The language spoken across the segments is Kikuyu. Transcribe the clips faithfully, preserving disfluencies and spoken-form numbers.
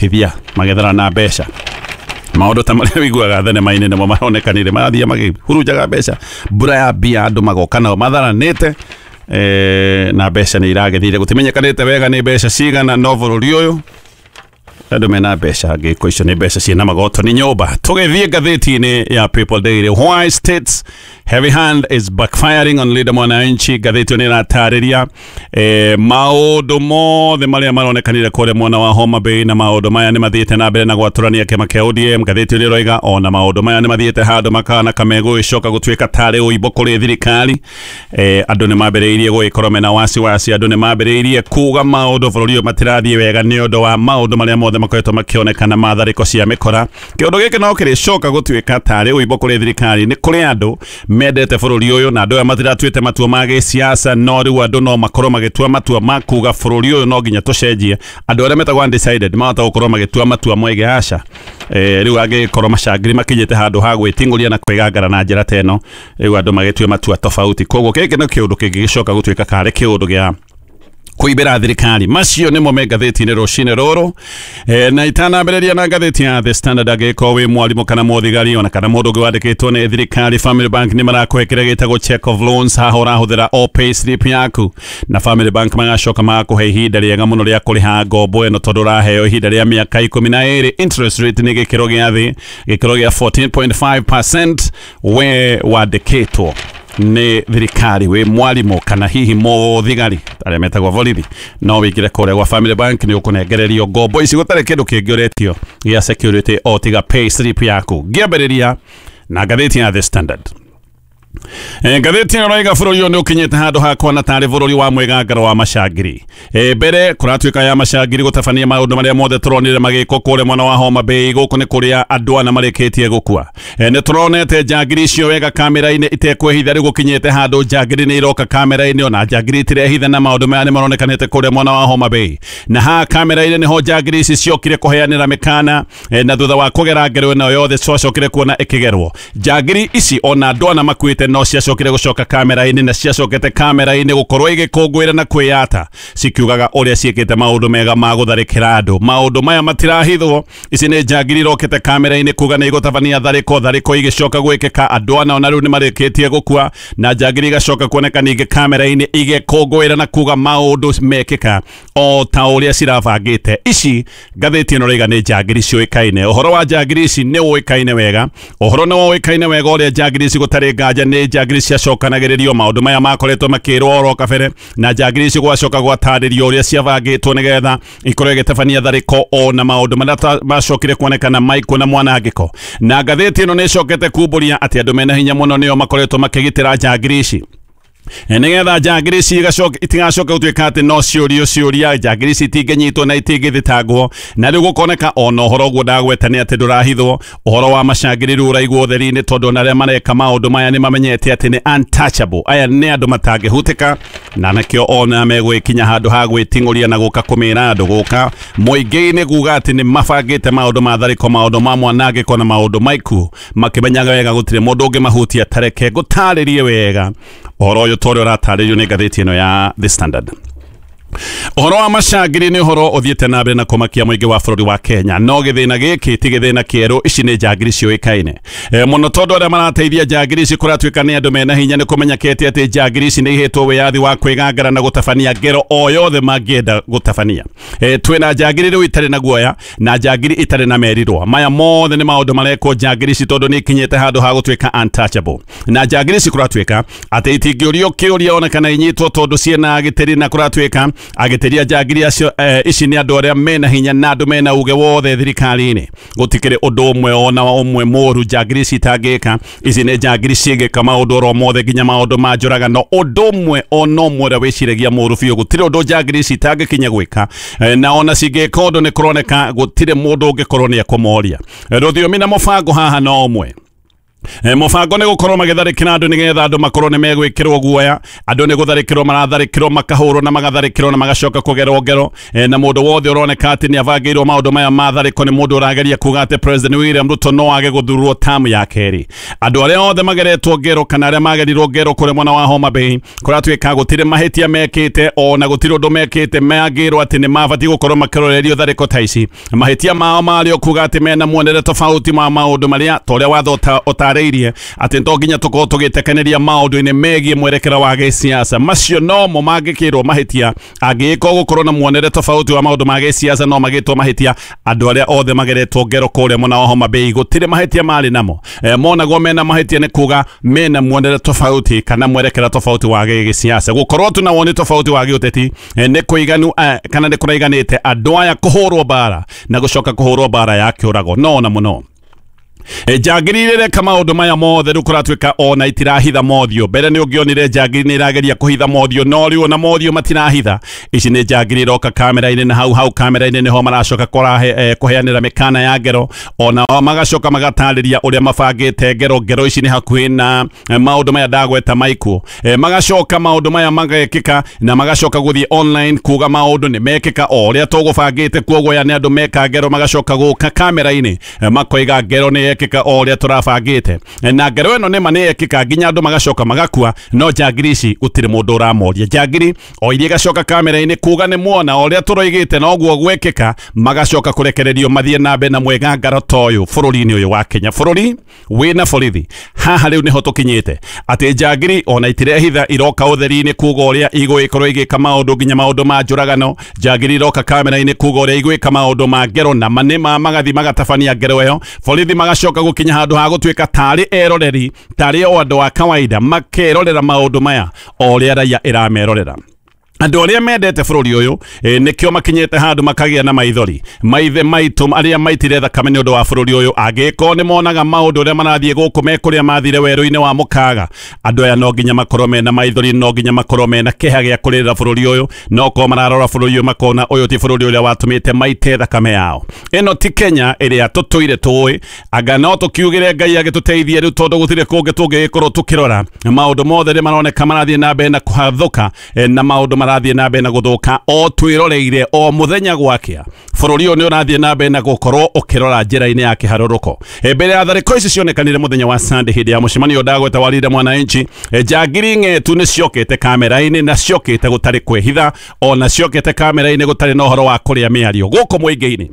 Hithia magethana na mbeca maũndũ ta marĩa wiguaga thenema-inĩ nĩmo maronekanire marathiĩ makĩhurunjaga mbeca mbura ya mbia andũ magoka nao matharanĩte eh, na mbeca nĩ iragĩthire gũtimenyekanĩte wega nĩ mbeca cigana no bũrũri ũyũ andũ mena mbeca ngĩko icio nĩ mbeca ciĩna magoto nĩ nyũmba. Tũgĩthiĩ ngathĩti-inĩ ya People Daily, why states heavy hand is backfiring on Linda Mwananchi. Ngathĩti ĩyo nĩ ĩratarĩria eh, maũndũ mothe marĩa maronekanire kũrĩa mwena wa Homa Bay, na maũndũ maya nĩ mathiĩte na mbere na gwatũrania kĩama kĩa O D M. Ngathĩti ĩyo nĩ ĩroiga ona maũndũ maya nĩ mathiĩte handũ makana kamegũgĩcoka gũtuĩka tarĩ ũimbo kũrĩ thirikari. eh, andũ nĩ mambĩrĩirie gũgĩkorwo mena wasiwasi, andũ nĩ mambĩrĩirie kuga maũndũ bũrũri ũyũ matirathiĩ wega nĩ ũndũ wa maũndũ marĩa mothe makoretwo makĩonekana ma tharĩko cia mĩkora. Kĩũndũ gĩkĩ no kĩrĩcoka gũtuĩka tarĩ ũimbo kũrĩ thirikari. Nĩ kũrĩ andũ mendete bũrũri ũyũ na andũ aya matiratuĩte matua ma gĩsiasa, no rĩu andũ no makorwo magĩtua matua ma kuga bũrũri ũyũ no nginya tũcenjie. Andũ arĩa metagwo undecided mahota gũkorwo magĩtua matua moige aca. eh, rĩu angĩkorwo macangiri makinyĩte handũ ha gwĩting'ũria na kwĩgangara na njĩra ta ĩno, rĩu andũ magĩtue matua tofauti. Koguo gĩkĩ nĩ kĩũndũ kĩngĩgĩcoka gũtuĩka karĩ kĩũndũ gĩa kũimbĩra thirikari. Macio nĩmo me ngathĩti-inĩ rũcinĩ rũrũ. e, na itanambĩrĩria na ngathĩti ya The Standard, angĩkorwo wĩ mwarimũ kana mũthigari ona kana mũndũ ũngĩ wandĩkĩtwo nĩ thirikari, Family Bank nĩ marakũhe kĩrĩa gĩtagwo check of loans. Haha ũrahũthĩra o pay slip yaku na Family Bank magacoka magakũhe ihinda rĩega mũno rĩa kũrĩha ngombo ĩno, tondũ ũraheo ihinda rĩa mĩaka ikũmi na ĩrĩ. Interest rate nĩ gĩkĩro gĩa thĩ, gĩkĩro gĩa fourteen point five percent. We wandĩkĩtwo nĩ thirikari, wĩ mwarimũ kana hihi mũthigari arĩa metagwo borithi, no wĩingĩre kũrĩa gwa Family Bank, nĩ ũkũnengererio ngombo ici gũtarĩ kĩndũ kĩngĩ ũretio gĩa security o tiga pay slip yaku. Ngĩambĩrĩria na ngathĩti ya The Standard. E, ngathĩti ĩno ĩroiga bũrũri ũyũ nĩ ũkinyĩte handũ ha kuona tarĩ bũrũri wa mwĩgangaro wa macangiri. e, mbere kũratuĩka ya macangiri gũtabania maũndũ marĩa mothe tũronire magĩkwo kũrĩa mwena wa Homa Bay. Gũkũ nĩ kũrĩa andũ ana marĩkĩtie gũkua. e, nĩ tũronete njangiri icio wega kamera-inĩ itekwĩhitha. Rĩu gũkinyĩte handũ njangiri nĩ iroka kamera-inĩ, ona njangiri itirehitha, na maũndũ maya nĩ maronekanĩte kũrĩa mwena wa Homa Bay, na haha kamera-inĩ nĩho njangiri ici ciokire kũheanĩra mĩkana. e, na thutha wa kũgera ngero ĩno yothe twacokire kuona ĩkĩgerwo njangiri ici, ona andũ ana makuĩte, no ciacokire gũcoka kamera-inĩ, na ciacokete kamera-inĩ gũkorwo igĩkũngũĩra na kwĩyata cikiugaga ũrĩa ciĩkĩte maũndũ mega ma gũtharĩkĩra andũ. Maũndũ maya matirahithwo. Ici nĩ njangiri irokĩte kamera-inĩ kuga nĩ igũtabania tharĩko, tharĩko igĩcoka gwĩkĩka, andũ ana ona rĩu nĩ marĩkĩtie gũkua, na njangiri igacoka kuoneka ningĩ kamera-inĩ igĩkũngũĩra na kuga maũndũ mekĩka o ta ũrĩa cirabangĩte. Ici ngathĩti ĩno rĩiga nĩ njangiri ciũĩkaine. Ũhoro wa njangiri ici nĩ ũĩkaine wega, ũhoro nĩ ũĩkaine wega ũrĩa njangiri ici gũtarĩ nganja nĩ njangiri ciacokanagĩrĩrio. Maũndũ maya makoretwo makĩrwo oro kabere, na njangiri ici gwacoka gwatarĩrio ũrĩa ciabangĩtwo nĩgetha ikorwo ĩgĩtabania tharĩko, ona maũndũ marĩa macokire kuonekana maikũ na mwanangĩko. Na ngathĩti ĩno nĩ ĩcokete kumbũria atĩ andũ mena hinya mũno nĩo makoretwo makĩgitĩra njangiri ici, nĩgetha njangiri ici itigacoke gũtuĩka atĩ no ciũrio ciũria. Njangiri ici itingĩnyitwo na itingĩthitangwo, na rĩu gũkoneka ona ũhoro ũguo ndagweta nĩ atĩ ndũrahithwo. Ũhoro wa macangiri rĩu ũraigwo ũtheri-inĩ, tondũ ona arĩa mareka maũndũ maya nĩ mamenyete atĩ nĩ untouchable, aya nĩ andũ matangĩhutĩka, na nakĩo ona megwĩkinya handũ ha gwĩting'ũria na gũka kũmĩra andũ gũka mũingĩ-inĩ kuga atĩ nĩ mabangĩte maũndũ ma tharĩko, maũndũ ma mwanangĩko na maũndũ maiku, makĩmenyaga wega gũtirĩ mũndũ ũngĩmahutia. Tareke ngũtarĩrie wega ũhoro ũyũ ta ũrĩa ũratarĩrio nĩ ngathĩti ĩno ya The Standard. Ũhoro wa macangiri nĩ ũhoro ũthiĩte na mbere na kũmakia mũingĩ wa bũrũri wa Kenya, no gĩthĩna gĩkĩ ti gĩthĩna kĩerũ. Ici nĩ njangiri ciũĩkaine e, mũno, tondũ arĩa marateithia njangiri ici kũratuĩka nĩ andũ mena hinya. Nĩ kũmenyekete atĩ njangiri ici nĩ ihetwo wĩyathi wa kwĩgangara na gũtabania ngero o yothe mangĩenda gũtabania. e, twĩna njangiri rĩu itarĩ na guoya na njangiri itarĩ na merirwa. Maya mothe nĩ maũndũ marekwo njangiri ici tondũ nĩ ikinyĩte handũ ha gũtuĩka untouchable, na njangiri ici kũratuĩka atĩ itingĩũrio kĩũria ona kana inyitwo tondũ ciĩna agitĩri, na kũratuĩka agitĩri a njangiri acio eh, ici nĩ andũ arĩa mena hinya na andũ mena uge wothe thirikari-inĩ. Gũtikĩrĩ ũndũ ũmwe ona ũmwe mũru njangiri ici itangĩka. Ici nĩ njangiri cingĩka maũndũ oro mothe, nginya maũndũ ma njũragano, ũndũ ũmwe ona ũmwe ũrĩa wĩciragia mũru biũ, gũtirĩ ũndũ njangiri ici itangĩkinya gwĩka. Eh, na ona cingĩka ũndũ nĩ kũroneka gũtirĩ mũndũ ũngĩkorwo nĩ ekũmoria. Rũthiomi na mũbango haha no ũmwe. E, mũbango nĩ gũkorwo magĩtharĩkĩra andũ nĩgetha andũ makorwo nĩ megwĩkĩrwo guoya. Andũ nĩ gũtharĩkĩrwo maratharĩkĩrwo, makahũrwo na magatharĩkĩrwo na magacoka kũgerwo ngero. E, na mũndũ wothe ũroneka atĩ nĩ abangĩirwo maũndũ maya ma tharĩko nĩ mũndũ ũrageria kuga atĩ President William Ruto no age gũthurwo tamu ya kerĩ. Andũ arĩa othe mageretwo ngero kana arĩa magerirwo ngero kũrĩa mwena wa Homa Bay, kũratuĩka gũtirĩ mahĩtia mekĩte ona gũtirĩ ũndũ mekĩte, mangĩrwo atĩ nĩ mabatiĩ gũkorwo makĩrorerio tharĩko ta ici. Mahĩtia mao marĩ o kuga atĩ mena muonere tofauti ma maũndũ marĩa ta ũrĩa watho ũta irie atĩ to nginya tũkorwo tũgĩtekeneria maũndũ-inĩ megiĩ mwerekera wa gĩsiasa. Macio nomo mangĩkĩrwo mahĩtia, angĩgĩkorwo gũkorwo na muonere tofauti wa maũndũ ma gĩsiasa no magĩtwo mahĩtia. Andũ arĩa othe mageretwo ngero kũrĩa mwena wa Homa Bay gũtirĩ mahĩtia marĩ namo. E, monagwo mena mahĩtia nĩ kuga mena muonere tofauti kana mwerekera tofauti wa gĩsiasa. Gũkorwo tu na woni tofauti wa gĩũteti e, nĩ kũiganu e, kana nĩ kũraiganĩte andũ aya kũhũrwo mbara na gũcoka kũhũrwo mbara ya kĩũrago no na mũno. E, njangiri ireka maũndũ maya mothe rĩu kũratuĩka ona itirahitha mothiũ. Mbere nĩ ũngĩonire njangiri nĩ irageria kũhitha mothiũ, no rĩu ona mothiũ matirahitha. Ici nĩ njangiri iroka kamera-inĩ na hau hau kamera-inĩ nĩho maracoka kũrahe eh, kũheanĩra mĩkana ya ngero, ona magacoka magatarĩria ũrĩa mabangĩte ngero. Ngero ici nĩ hakuhĩ na eh, maũndũ maya ndagweta maikuo. E, magacoka maũndũ maya magekĩka na magacoka gũthiĩ online kuga maũndũ nĩ mekĩka o ũrĩa tũgũbangĩte. Kuoguo aya nĩ andũ meka ngero magacoka gũka kamera-inĩ e, makoiga ngero nĩ yekĩka o ũrĩa tũrabangĩte, na ngero ĩno nĩma nĩ yekĩka nginya andũ magacoka magakua. No njangiri ici gũtirĩ mũndũ ũramoria. Njangiri o iria igacoka kamera-inĩ kuga nĩ muona o ũrĩa tũroigĩte noguo gwekĩka, magacoka kũrekererio mathiĩ na mbere na mwĩgangaro ta ũyũ bũrũri-inĩ ũyũ wa Kenya, bũrũri wĩna borithi. Haha rĩu nĩho tũkinyĩte atĩ njangiri ona itirehitha, iroka ũtheri-inĩ kuga ũrĩa igũgĩkorwo igĩka maũndũ nginya maũndũ ma njũragano. Njangiri iroka kamera-inĩ kuga ũrĩa igwĩka maũndũ ma ngero na manĩma magathi magatabania ngero ĩyo. Borithi magacoka gũkinya handũ ha gũtuĩka tarĩ eroreri, tarĩ o andũ a kawaida makerorera maũndũ maya o ũrĩa raia ĩramerorera. Andũ arĩa mendete bũrũri ũyũ e, nĩkĩo makinyĩte handũ makagĩa na maithori. Maithe maitũ arĩa maitire thakame nĩ ũndũ wa bũrũri ũyũ, angĩkorwo nĩ monaga maũndũ ũrĩa marathiĩ gũkũ me kũrĩa mathire werũ-inĩ wa mũkaga, andũ aya no nginya makorwo mena maithori, no nginya makorwo mena kĩeha gĩa kũrĩrĩra bũrũri ũyũ. No korwo mararora bũrũri ũyũ makona ũyũ ti bũrũri ũrĩa watũmĩte maite thakame yao. Ĩno ti Kenya ĩrĩa tũtũire tũĩ. Anga no tũkiugĩre Ngai agĩtũteithie rĩu, tondũ gũtirĩ kũngĩ tũngĩgĩkorwo tũkĩrora. Maũndũ mothe nĩ maroneka marathiĩ na mbere na kũhathũka, e, na maũndũ marathiĩ na mbere na gũthũka o twĩroreire o mũthenya gwakĩa. Bũrũri ũyũ nĩ ũrathiĩ na mbere na gũkorwo ũkĩrora njĩra-inĩ ya kĩharũrũko. E, mbere ya tharĩko ici cionekanire mũthenya wa Sunday hĩndĩ ya mũcemanio ndagweta wa Linda Mwananchi, e, njangiri ng'etu nĩ ciokĩte kamera-inĩ na ciokĩte gũtarĩ kwĩhitha, ona ciokĩte kamera-inĩ gũtarĩ na ũhoro wa kũrĩa mĩario gũkũ mũingĩ-inĩ.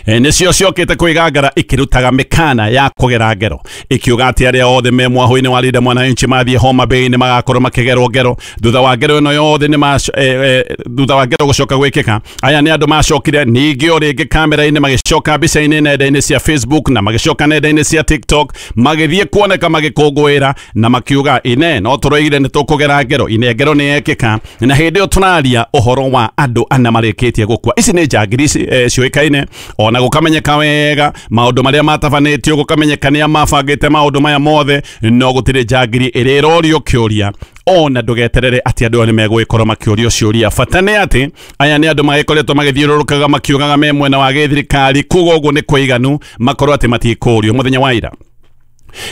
E, nĩcio ciokĩte kwĩgangara ikĩrutaga mĩkana ya kũgera ngero, ikiuga atĩ arĩa othe me mwahũ-inĩ wa Linda Mwananchi mathiĩ Homa Bay nĩ magakorwo makĩgerwo ngero. Thutha wa ngero ĩno yothe nĩ ma e, e, thutha wa ngero gũcoka gwĩkĩka, aya nĩ andũ macokire ningĩ o rĩngĩ kamera-inĩ, magĩcoka mbica-inĩ nenda-inĩ cia Facebook na magĩcoka nenda-inĩ cia TikTok, magĩthiĩ kuoneka magĩkũngũĩra na makiuga ine no tũroigire nĩ tũkũgera ngero, ine ngero nĩ yekĩka. Na hĩndĩ ĩyo tũraria ũhoro wa andũ ana marĩkĩtie gũkua. Ici nĩ njangiri e, ciũĩkaine, ona gũkamenyeka wega maũndũ marĩa matabanĩtio, gũkamenyeka nĩa mabangĩte maũndũ maya mothe, no gũtirĩ njangiri ĩrĩa ĩrorio kĩũria. Ona ndũgeterere atĩ andũ aya nĩ megũgĩkorwo makĩũrio ciũria. Bata nĩ atĩ aya nĩ andũ magĩkoretwo magĩthiũrũrũkaga makiugaga me mwena wa gĩthirikari, kuga ũguo nĩ kũiganu makorwo atĩ matikũrio. Mũthenya wa ira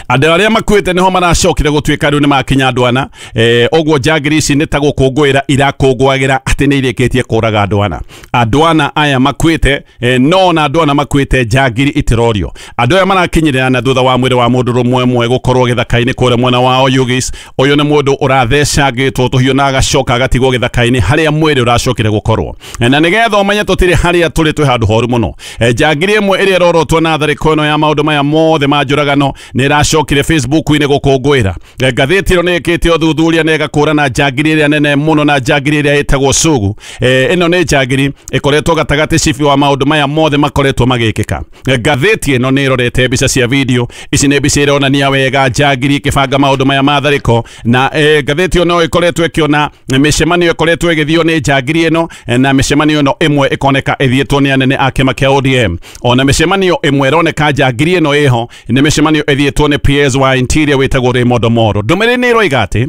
andũ arĩa makuĩte nĩho maracokire gũtuĩka rĩu nĩ makinya andũ ana. E, ũguo njangiri ici nĩ ta gũkũngũĩra irakũngũagĩra atĩ nĩ irĩkĩtie kũraga andũ ana. Andũ ana aya makuĩte, e, no na andũ ana makuĩte njangiri itirorio. Andũ aya marakinyĩrĩra na thutha wa mwĩrĩ wa mũndũ rũmwe ũmwe gũkorwo gĩthaka-inĩ kũrĩa mwena wa Oyugis. Ũyũ nĩ mũndũ ũrathecangĩtwo tũhiũ na agacoka agatigwo gĩthaka-inĩ harĩa mwĩrĩ ũracokire gũkorwo. E, na nĩgetha ũmenye tũtirĩ harĩa tũrĩ, twĩ handũ horu mũno. E, njangiri ĩmwe ĩrĩa ĩrorotwo na tharĩko ĩno ya maũndũ maya mothe ma njũragano nĩ ĩracokire Facebook-inĩ gũkũngũĩra. Ngathĩti ĩno nĩ ĩkĩte ũthuthuria na ĩgakũrana njangiri ĩrĩa nene mũno na njangiri ĩrĩa ĩtagwo Sugu. E, ĩno nĩ njangiri ĩkoretwo gatagatĩ cibi wa maũndũ maya mothe makoretwo magĩkĩka. Ngathĩti ĩno nĩ ĩrorete mbica cia video. Ici nĩ mbica ironania wega njangiri ĩkĩbanga maũndũ maya ma tharĩko, na e, ngathĩti ĩyo no ĩkoretwo ĩkĩona mĩcemanio ĩkoretwo ĩgĩthio nĩ njangiri ĩno, na mĩcemanio ĩno ĩmwe ĩkoneka ĩthiĩtwo nĩ anene a kĩama kĩa O D M. Ona mĩcemanio ĩmwe ĩroneka njangiri ĩno ĩho nĩ mĩcemanio ĩthiĩtwo nĩ P S wa Interior wĩtagwo Raymond Omoro. Ndũmĩrĩri nĩ ĩroiga atĩ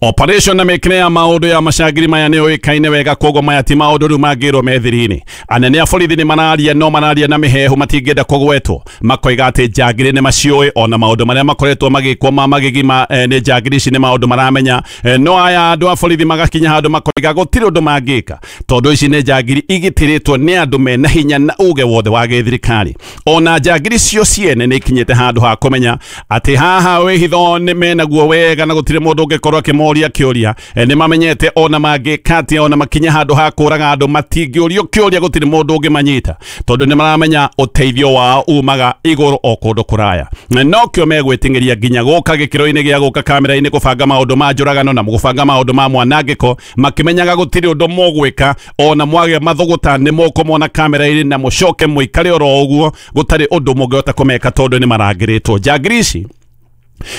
Operation na mĩkĩre ya maũndũ ya macangiri maya nĩ yũĩkaine wega, koguo maya ti maũndũ rĩu mangĩrwo methiri-inĩ. Anene a borithi nĩ mararia no mararia na mĩhehu, matingĩenda kũgwetwo, makoiga atĩ njangiri nĩ maciũĩ, ona maũndũ marĩa makoretwo magĩkwo ma magigi ma eh, nĩ njangiri ici nĩ maũndũ maramenya. eh, no aya andũ a borithi magakinya handũ makoiga gũtirĩ ũndũ mangĩka, tondũ ici nĩ njangiri igitĩrĩtwo nĩ andũ mena hinya na uge wothe wa gĩthirikari. Ona njangiri cio ciene nĩ ikinyĩte handũ ha kũmenya atĩ haha wĩhitho nĩ menaguo wega na gũtirĩ mũndũ ũngĩkorwo akĩmoria kĩũria. E, nĩ mamenyete ona mangĩka atĩa, ona makinya handũ ha kũraga andũ matingĩũrio kĩũria, gũtirĩ mũndũ ũngĩmanyita, tondũ nĩ maramenya ũteithio wao umaga igũrũ o kũndũ kũraya. Na nokĩo megwĩting'ĩria nginya gũka gĩkĩro-inĩ gĩa gũka kamera-inĩ kũbanga maũndũ ma njũragano na gũbanga maũndũ ma mwanangĩko, makĩmenyaga gũtirĩ ũndũ mũgwĩka. Ona mwagĩa mathũgũta nĩ mũkũmona kamera-inĩ na mũcoke mũikare oro ũguo, gũtarĩ ũndũ mũngĩhota kũmeka tondũ nĩ marangĩrĩtwo. Njangiri ici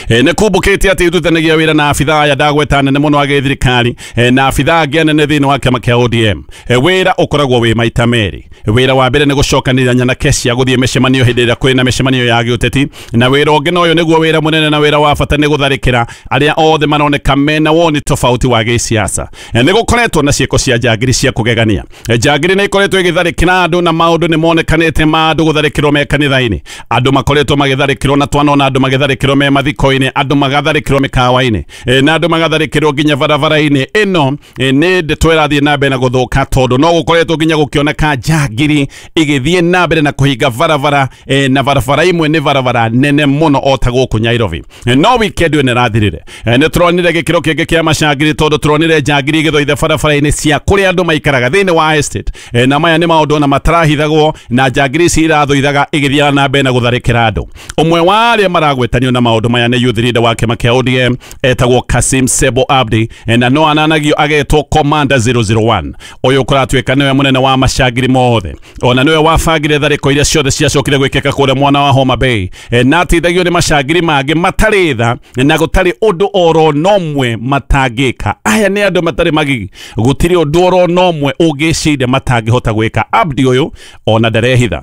E, nĩ kumbũkĩte atĩ irutithanagia wĩra na abithaa aya ndagweta nene mũno a gĩthirikari, e, na abithaa angĩ anene thĩinĩ wa kĩama kĩa O D M. E, wĩra ũkoragwo wĩ maita merĩ. Wĩra wa mbere nĩ gũcokanĩrĩria nyanake cia gũthiĩ mĩcemanio hĩndĩ ĩrĩa kwĩna mĩcemanio ya gĩũteti, na wĩra ũngĩ na ũyũ nĩguo wĩra mũnene na wĩra wa bata nĩ gũtharĩkĩra arĩa othe maroneka mena woni tofauti wa gĩsiasa. E, nĩ gũkoretwo na ciĩko cia njangiri cia kũgegania. E, njangiri nĩ ikoretwo ĩgĩtharĩkĩra andũ na maũndũ nĩ monekanĩte ma andũ gũtharĩkĩrwo me kanitha-inĩ, andũ makoretwo magĩtharĩkĩrwo na twanona andũ magĩtharĩkĩrwo me mathiko-inĩ, andũ magatharĩkĩrwo mĩkawa-inĩ, e, na andũ magatharĩkĩrwo nginya barabara-inĩ. Ĩno e, nĩ ndeto ĩrathiĩ na mbere na gũthũka, tondũ no gũkoretwo nginya gũkĩoneka njangiri igĩthiĩ na mbere na kũhinga barabara, e, na barabara imwe nĩ barabara nene mũno o ta gũkũ Nairobi. E, no weekend ĩno ĩrathirire, e, nĩ tũronire gĩkĩro kĩngĩ kĩa macangiri, tondũ tũronire njangiri igĩthũitha barabara-inĩ cia kũrĩa andũ maikaraga thĩinĩ wa estate. E, na maya nĩ maũndũ ona matarahithagwo, na njangiri ici irathũithaga igĩthiaga na mbere na gũtharĩkĩra andũ. Ũmwe wa arĩa maragwetanio na maũndũ maya nĩ youth leader wa kĩama kĩa O D M etagwo Kasim Sebo Abdi, na no ananagio agetwo Commander zero zero one. Ũyũ kũratuĩka nĩwe mũnene wa macangiri mothe, ona nĩwe wabangire tharĩko iria ciothe ciacokire gwĩkĩka kũrĩa mwena wa Homa Bay, na ateithagio nĩ macangiri mangĩ matarĩ tha na gũtarĩ ũndũ oro nomwe matangĩka. Aya nĩ andũ matarĩ magigi, gũtirĩ ũndũ oro nomwe ũngĩciria matangĩhota gwĩka. Abdi ũyũ ona ndarehitha.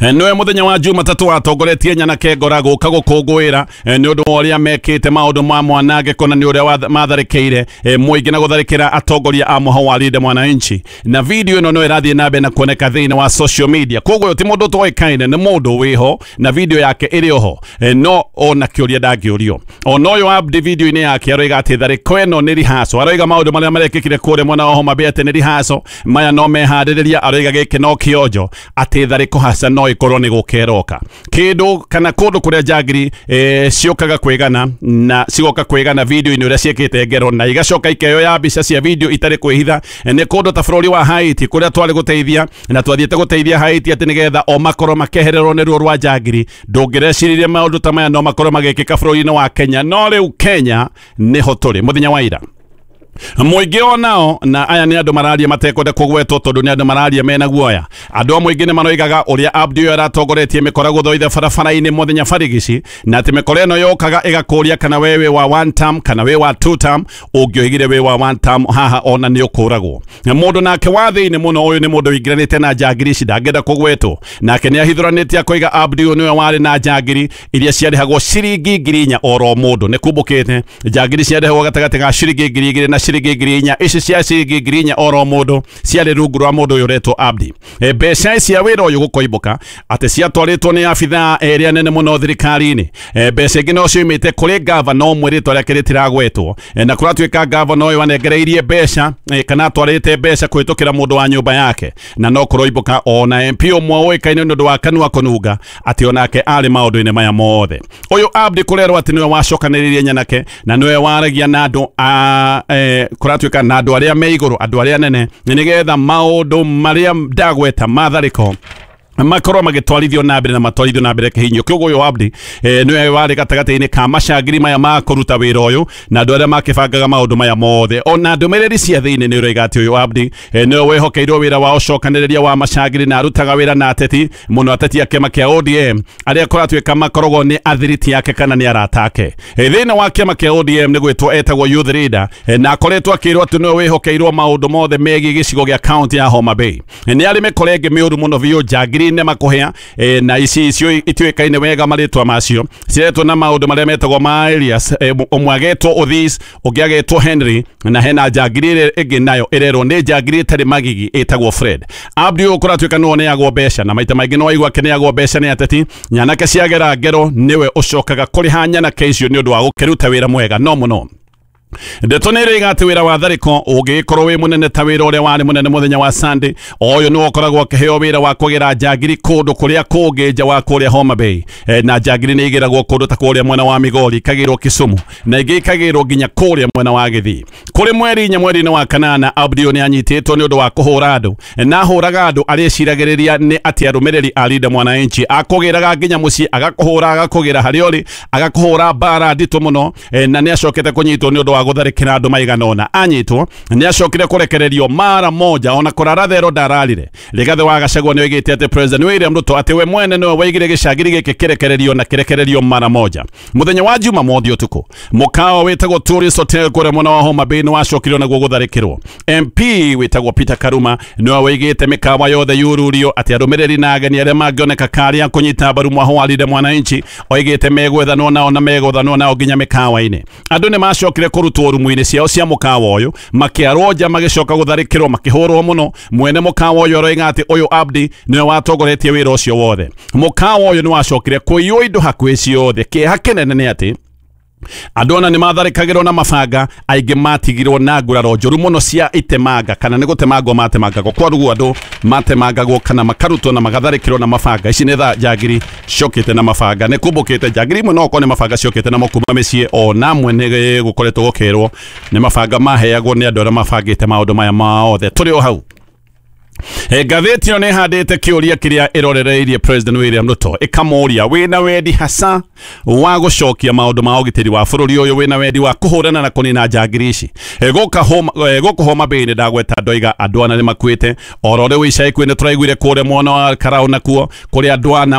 Nĩwe mũthenya wa Jumatatũ watongoretie nyanake ngora gũka gũkũngũĩra nĩ ũndũ wa ũrĩa mekĩte maũndũ ma mwanangĩko na nĩ ũrĩa matharĩkĩire mũingĩ na gũtharĩkĩra atongoria a mũhau wa Linda Mwananchi. Na video ĩno no ĩrathiĩ na mbere na kuoneka thĩinĩ wa social media, koguo ũyũ ti mũndũ ũtoĩkaine, nĩ mũndũ wĩho na video yake ĩrĩ oho, no ona kĩũria ndangĩũrio. Ona ũyũ Abdi video-inĩ yake aroiga atĩ tharĩko ĩno nĩ rehearsal, aroiga maũndũ marĩa marekĩkire kũrĩa mwena wa Homa Bay atĩ nĩ rehearsal, maya no meharĩrĩria, aroiga gĩkĩ no kĩonjo atĩ tharĩko haca no ikorwo nĩ gũkeroka kĩndũ kana kũndũ kũrĩa njangiri e, ciũkaga kwĩgana na cigoka kwĩgana video-inĩ ũrĩa ciĩkĩte ngero na igacoka ikeyoya mbica cia video itarĩ kwĩhitha. Nĩ kũndũ ta bũrũri wa Haiti kũrĩa twarĩ gũteithia na twathiĩte gũteithia Haiti atĩ nĩgetha o makorwo makehererwo nĩ ruo rwa njangiri. Ndũngĩreciririe maũndũ ta maya no makorwo magĩkĩka bũrũri-inĩ wa Kenya, no rĩu Kenya nĩho tũrĩ. Mũthenya wa ira mũingĩ onao, na aya nĩ andũ mararia matekwenda kũgwetwo tondũ nĩ andũ mararia mena guoya. Andũ a mũingĩ nĩ maroigaga ũrĩa Abdi ũyũ aratongoretie mĩkora gũthoitha barabara-inĩ mũthenya barigici, na atĩ mĩkora ĩno yokaga ĩgakũria kana we wĩ wa one term kana wĩ wa two term. Ũngĩoigire wĩ wa one term haha ona nĩ ũkũragwo. Mũndũ nake wa thĩinĩ mũno, ũyũ nĩ mũndũ ũingĩranĩte na njangiri ici ndangĩenda kũgwetwo, nake nĩ ahithũranĩtie akoiga Abdi ũyũ nĩwe warĩ na njangiri iria ciarĩhagwo ciringi ngiri inya oro mũndũ. Nĩ kumbũkĩte njangiri ciarĩhagwo gatagatĩ ga ciringi ngiri igĩrĩ na ciringi ngiri inya. Ici cia ciringi ngiri inya oro mũndũ ciarĩ rungu rwa mũndũ ũyũ ũretwo Abdi. E, mbeca cia wĩra ũyũ gũkoimbũka atĩ ciatwarĩtwo nĩ abithaa erĩa nene mũno thirikari-inĩ. E, mbeca ingĩ no ciumĩte kũrĩ gavana ũmwe rĩtwa rĩake rĩtiragwetwo, e, na kũratuĩka gavana ũyũ anengereirie mbeca, e, kana atwarĩte mbeca kũhĩtũkĩra mũndũ wa nyũmba yake, na no kũroimbũka ona M P ũmwe ũĩkaine nĩ ũndũ wa kanua kũnunga atĩ onake arĩ maũndũ-inĩ maya mothe. Ũyũ Abdi kũrerwo atĩ nĩwe wacokanĩrĩirie nyanake na nĩwe waragia na andũ a e, kũratuĩka na andũ arĩa me igũrũ, andũ arĩa nene, nĩgetha maũndũ marĩa ndagweta matharĩko makorwo magĩtwarithio na mbere na matwarithio na mbere kĩhinyo. Kĩoguo ũyũ Abdi eh, nĩwe warĩ gatagatĩ-inĩ ka macangiri maya ma kũruta wĩra ũyũ na andũ arĩa makĩbangaga maũndũ maya mothe. Ona ndũmĩrĩri cia thĩinĩ nĩ ũroiga atĩ ũyũ Abdi eh, nĩwe wehokeirwo wĩra wa ũcokanĩrĩria wa macangiri na arutaga wĩra na ateti mũno, ateti a kĩama kĩa O D M arĩa kũratuĩka makoragwo nĩ athiriti yake kana nĩ arata ake. Eh, thĩinĩ wa kĩama kĩa O D M nĩ gwĩtwo etagwo youth leader, eh, na akoretwo akĩrwo atĩ nĩwe wĩhokeirwo maũndũ mothe megiĩ gĩcigo gĩa county ya Homa Bay. Eh, nĩ arĩ mĩkora ĩngĩ mĩũru mũno biũ njangiri njagiri nĩ makũhĩa e, na ici icio ituĩkaine wega marĩtwa macio ciretwo na maũndũ marĩa metagwo ma alias. e, ũmwe agetwo Othis, ũngĩ agetwo Henry, na hena njagiri ĩrĩa ĩngĩ nayo ĩrerwo nĩ njagiri ĩtarĩ magigi ĩtagwo Fred. Abdi ũyũ kũratuĩka nĩwe ũneagwo mbeca, na maita maingĩ no waigua akĩneagwo mbeca nĩ ateti. Nyanake ciagera ngero nĩwe ũcokaga kũrĩha nyanake icio nĩ ũndũ wa gũkĩruta wĩra mwega no mũno. Ndeto nĩ ĩroiga atĩ wĩra wa tharĩko ũngĩgĩkorwo wĩ mũnene ta wĩra ũrĩa warĩ mũnene mũthenya wa Sunday, ũyũ nĩwe ũkoragwo akĩheo wĩra wa kũgĩra njagiri kũndũ kũrĩa kũngĩ nja wa kũrĩa Homa Bay. e, na njagiri nĩ igĩragwo kũndũ ta kũrĩa mwena wa Migori, ikagĩrwo Kisumu, na ingĩ ikagĩrwo nginya kũrĩa mwena wa Gĩthii. Kũrĩ mweri inya mweri-inĩ wa kanana, Abdi nĩ anyitĩtwo nĩ ũndũ wa kũhũra andũ, na ahũraga andũ arĩa eciragĩrĩria nĩ atĩ arũmĩrĩri a Linda Mwananchi. Akũgĩraga nginya mũciĩ, agakũhũra, agakũgĩra harĩa ũrĩ, agakũhũra mbara nditũ mũno. e, na nĩ acokete kũnyitwo nĩ ũndũ wa gũtharĩkĩra andũ maigana ũna. Anyitwo nĩ acokire kũrekererio mara moja, ona kũrara thero ndararire. Rigathĩ wa Gachagua nĩ oigĩte atĩ President William Ruto atĩ we mwene nĩwe waigire gĩcagiri gĩkĩ kĩrekererio na kĩrekererio mara moja. Mũthenya wa Jumamothi ũtukũ, mũkawa wĩtagwo Tourist Hotel kũrĩa mwena wa Homa Bay nĩ wacokirio naguo gũtharĩkĩrwo. M P wĩtagwo Peter Karuma nĩwe waigĩte mĩkawa yothe yururio atĩ arũmĩrĩri na ageni arĩa mangĩoneka karĩa kũnyita mbaru mwaho wa Linda Mwananchi oigĩte megwethanwo nao na megũthanwo nao nginya mĩkawa-inĩ. Andũ nĩ macokire kũrutwo rumu-inĩ ciao cia mũkawa ũyũ, makĩarwo nja, magĩcoka gũtharĩkĩrwo, makĩhũrwo mũno. Mwene mũkawa ũyũ aroiga atĩ ũyũ Abdi nĩwe watongoretie wĩra ũcio wothe. Mũkawa ũyũ nĩ wacokire kũiywo indo hakuhĩ ciothe. Kĩeha kĩnene nĩ atĩ andũ ona nĩ matharĩkagĩrwo na mabanga, aingĩ matigirwo na nguraro njũru mũno cia itemanga, kana nĩ gũtemangwo matemangagwo. Kwaruguo andũ matemangagwo kana makarutwo na magatharĩkĩrwo na mabanga. Ici nĩ tha njagiri ciokĩte na mabanga, nĩ kumbũkĩte njagiri imwe no okorwo nĩ mabanga ciokĩte namo kuma mĩciĩ, ona amwe nĩ gũkoretwo gũkĩrwo nĩ mabanga maheagwo nĩ andũ arĩa mabangĩte maũndũ maya mothe. Tũrĩ o hau, ngathĩti ĩyo nĩ ĩhandĩte kĩũria kĩrĩa ĩrorereirie President William Ruto, ĩkamũria wĩna wendi hasa wa gũcokia maũndũ ma ũgitĩri wa bũrũri ũyũ, wĩna wendi wa kũhũrana na kũnina njagiri ici. Gũkũ Homa Bay nĩ ndagweta ndoiga andũ ana nĩ makuĩte. Oro rĩu ica ikuhĩ nĩ tũraiguire kũrĩa mwena wa Karau nakuo kũrĩa andũ ana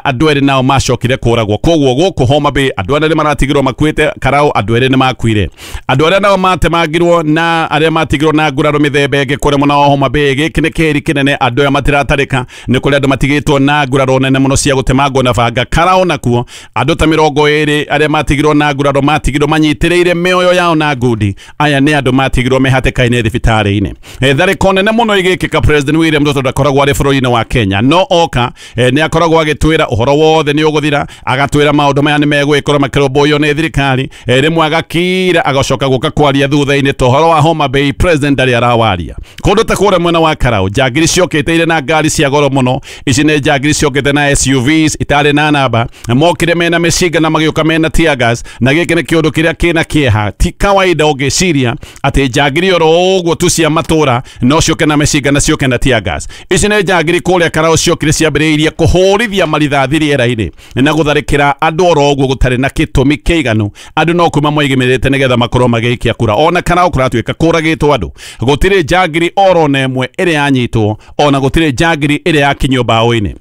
andũ erĩ nao macokire kũragwo. Koguo gũkũ Homa Bay andũ ana nĩ maratigirwo makuĩte, Karau andũ erĩ nĩ makuire. Andũ arĩa nao matemangirwo na arĩa matigirwo na nguraro mĩthemba ĩngĩ kũrĩa mwena wa Homa Bay, gĩkĩ nĩ kĩheri kĩnene, andũ aya matiratarĩka, nĩ kũrĩa andũ matigĩtwo na nguraro nene mũno cia gũtemangwo na banga. Karau nakuo andũ ta mĩrongo ĩrĩ arĩa matigirwo na nguraro matigirwo manyitĩrĩire mĩoyo yao na ngundi. Aya nĩ andũ matigirwo me hatĩka-inĩ thibitarĩ-inĩ. Tharĩko nene mũno ĩgĩkĩka, President William Ruto ndakoragwo arĩ bũrũri-inĩ wa Kenya, no oka nĩ akoragwo agĩtwĩra ũhoro wothe nĩ ũgũthira, agatwĩra maũndũ maya nĩ megwĩkorwo makĩrũmbũiyo nĩ thirikari. Rĩmwe agakira agacoka gũka kwaria thutha-inĩ ta ũhoro wa Homa Bay President ndarĩ arawaria. Kũndũ ta kũrĩa mwena wa Karau njagiri ciokĩte irĩ na ngari cia goro mũno. Ici nĩ njagiri ciokĩte na S U Vs itarĩ na namba, mokire mena mĩcinga na magĩũka mena tear gas, na gĩkĩ nĩ kĩũndũ kĩrĩa kĩna kĩeha. Ti kawaida ũngĩciria atĩ njagiri oro ũguo tu cia matũra no ciũke na mĩcinga na ciũke na tear gas. Ici nĩ njagiri kũrĩa Karau ciokire ciambĩrĩirie kũhũrithia marithathi rĩera-inĩ na gũtharĩkĩra andũ oro ũguo gũtarĩ na gĩtũmi kĩiganu. Andũ no kuma moigĩmĩrĩte nĩgetha makorwo magĩikia kura. Ona Karau kũratuĩka kũragĩtwo andũ, gũtirĩ njagiri oro na ĩmwe ĩrĩa yanyitwo, ona gũtirĩ njagiri ĩrĩa yakinyio mbaũ-inĩ.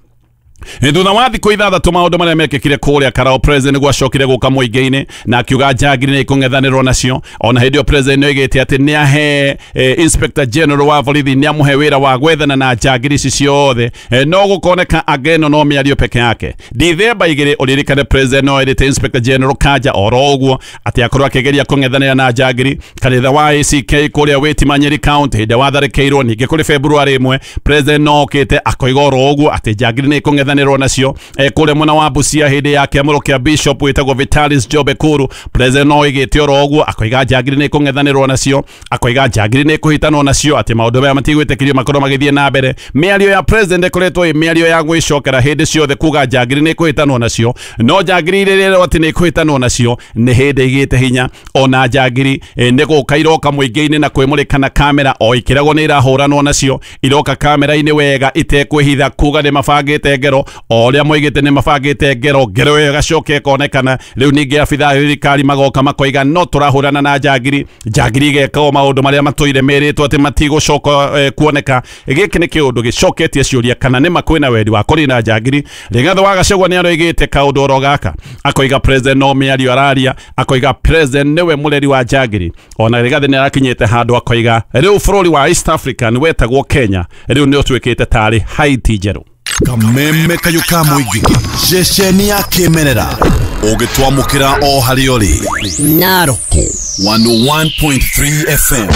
Thutha wa thikũ ithathatũ maũndũ marĩa mekĩkire kũrĩa Karau, President gwacokire gũka mũingĩ-inĩ na akiuga njagiri nĩ ikũng'ethanĩrwo nacio. Ona hĩndĩ ĩyo President nĩoigĩte atĩ nĩ ahe eh, Inspector General wa borithi nĩ amũhe wĩra wa gwethana na njagiri ici ciothe. eh, no gũkoneka ageno no mĩario peke yake. Dithemba igĩrĩ ũririkane President no erĩte Inspector General Kanja oro ũguo atĩ akorwo akĩgeria kũng'ethanĩra na njagiri. Kanitha wa A C K kũrĩa Wĩtima Nyeri County hĩndĩ watharĩkĩirwo. Ningĩ kũrĩ February ĩmwe President no okĩte akoiga oro ũguo atĩ njagiri nĩ ikũng'ethanĩra nacio. E, kũrĩa mwena wa Busia hĩndĩ ya kĩamũro kĩa Bishop wĩtagwo Vitalis Jobe Kuru, President no oigĩte oro ũguo akoiga njagiri nĩ ikũng'ethanĩrwo nacio, akoiga njagiri nĩ ikũhitanwo nacio, atĩ maũndũ maya matigwĩtĩkĩrio makorwo magĩthiĩ na mbere. Mĩario ya President ĩkoretwo ĩ mĩario ya gwĩcokera hĩndĩ ciothe kuga njagiri nĩ ikũhitanwo nacio, no njagiri iria ĩrerwo atĩ nĩ ikũhitanwo nacio nĩ hĩndĩ igĩte hinya. Ona njagiri e, nĩ gũka iroka mũingĩ-inĩ na kwĩmũrĩka na kamera o ikĩragwo nĩ irahũranwo nacio, iroka kamera-inĩ wega itekwĩhitha kuga nĩ mabangĩte ngero o ũrĩa moigĩte nĩ mabangĩte ngero, ngero ĩyo ĩgacoka ĩkonekana. Rĩu ningĩ abithaa a thirikari magoka makoiga no tũrahũrana na njagiri, njagiri igeka o maũndũ marĩa matũire merĩtwo atĩ matigũcoka eh, kuoneka. Gĩkĩ nĩ kĩũndũ gĩcoketie ciũria kana nĩ ma kwĩna wendi wa kũnina njagiri. Rigathĩ wa Gachagua nĩ aroigĩte kaũndũ oro gaka, akoiga President no mĩario araria, akoiga President nĩwe mũreri wa njagiri. Ona Rigathĩ nĩ arakinyĩte handũ akoiga rĩu bũrũri wa East Africa nĩ wetagwo Kenya, rĩu nĩ ũtuĩkĩte tarĩ Haiti njerũ. Kameme kayo ka mũingĩ, ceceni ya kĩmerera ũgĩtwamũkĩra o harĩa ũrĩ. Narok one oh one point three F M.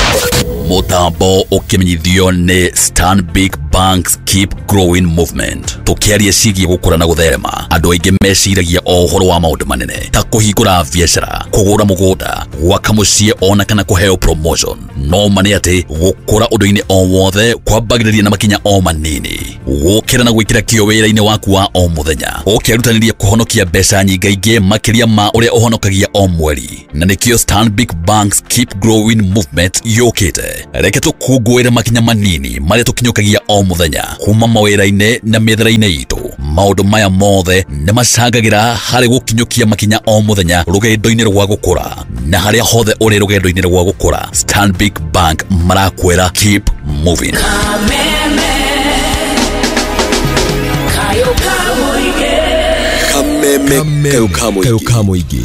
Mutambo ukimenyithio ni Stanbic Bank's Keep Growing Movement. Tukiaria ciĩgiĩ gũkũra na gũtherema, andũ aingĩ meciragia o ũhoro wa maũndũ manene ta kũhingũra biacara, kũgũra mũgũnda, gwaka mũciĩ ona kana kũheo promotion. No ma nĩ atĩ gũkũra ũndũ-inĩ o wothe kwambagĩrĩria na makinya o manini. Gũkĩra na gwĩkĩra kĩyo wĩra-inĩ waku wa o mũthenya, ũkĩrutanĩria kũhonokia mbeca nyingaingĩ makĩria ma ũrĩa ũhonokagia o mweri. Na nĩkĩo Stanbic Bank's Keep Growing Movement yũkĩte. Reke tũkũngũĩre makinya manini marĩa tũkinyũkagia o mũthenya kuma mawĩra-inĩ na mĩethere-inĩ itũ. Maũndũ maya mothe nĩ macangagĩra harĩ gũkinyũkia makinya o mũthenya rũgendo-inĩ rwa gũkũra. Na harĩa hothe ũrĩ rũgendo-inĩ rwa gũkũra, Stanbic Bank marakwĩra keep moving. Kameme kayo kamuigi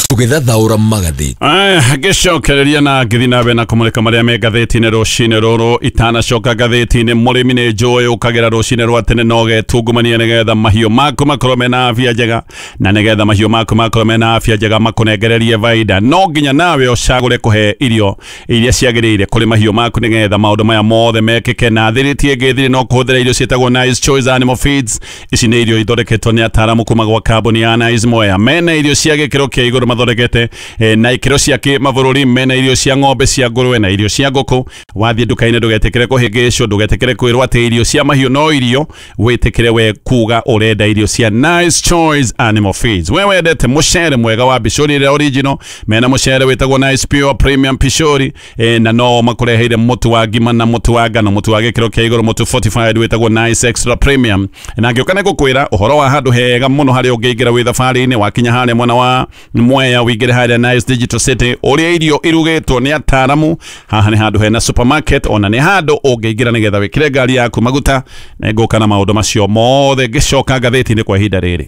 tugithathaura magatheti. Aya, ngĩcokereria na ngĩthiĩ na mbere na kũmũrĩka marĩa me ngathĩti-inĩ rũcinĩ rũrũ. Itanacoka ngathĩti-inĩ, mũrĩmi nĩ njũĩ ũkagĩra rũcinĩ rwa tene na ũgetungumania nĩgetha mahiũ maku makorwo mena afya njega, na nĩgetha mahiũ maku makorwo mena afya njega makũnengererie baida, no nginya nawe ũcagũre kũhe irio iria ciagĩrĩire kũrĩ mahiũ maku nĩgetha maũndũ maya mothe mekĩke. Na thiriti ĩngĩ thiri no kũhũthĩra irio ciĩtagwo Nice Choice Animal Feeds. Ici nĩ irio ithondeketwo nĩ ataaramu kuma gwa kambuni ya Nice Moya. Mena irio cia gĩkĩro kĩa igũrũ mathondekete eh, na ikĩro cia kĩmabũrũri. Mena irio cia ng'ombe, cia ngũrwe na irio cia ngũkũ. Wathiĩ nduka-inĩ ndũgetĩkĩre kũhĩngĩcwo, ndũgetĩkĩre kwĩrwo atĩ irio cia mahiũ no irio, wĩtĩkĩre we kuga ũrenda irio cia Nice Choice Animal Feeds. We wendete mũcere mwega wa bicũri ĩrĩa original, mena mũcere wĩtagwo Nice Pure Premium Pishori eh, na no makũreheire mũtu wa ngima na mũtu wa ngano, mũtu wa gĩkĩro kĩa igũrũ, mũtu fortified wĩtagwo Nice Extra Premium. Na ngĩũka nĩ ngũkwĩra ũhoro wa handũ hega mũno harĩa ũngĩingĩra wĩ thabarĩ-inĩ. Wakinya harĩa mwena wa Mwea wĩingĩre harĩa Nice Digital City, ũrĩa irio irugĩtwo nĩ ataaramu. Haha nĩ handũ hena supermarket, ona nĩ handũ ũngĩingĩra nĩgetha wĩkĩre ngari yaku maguta. Na ngũka na maũndũ macio mothe ngĩcoka ngathĩti-inĩ kwa ihinda rĩrĩ.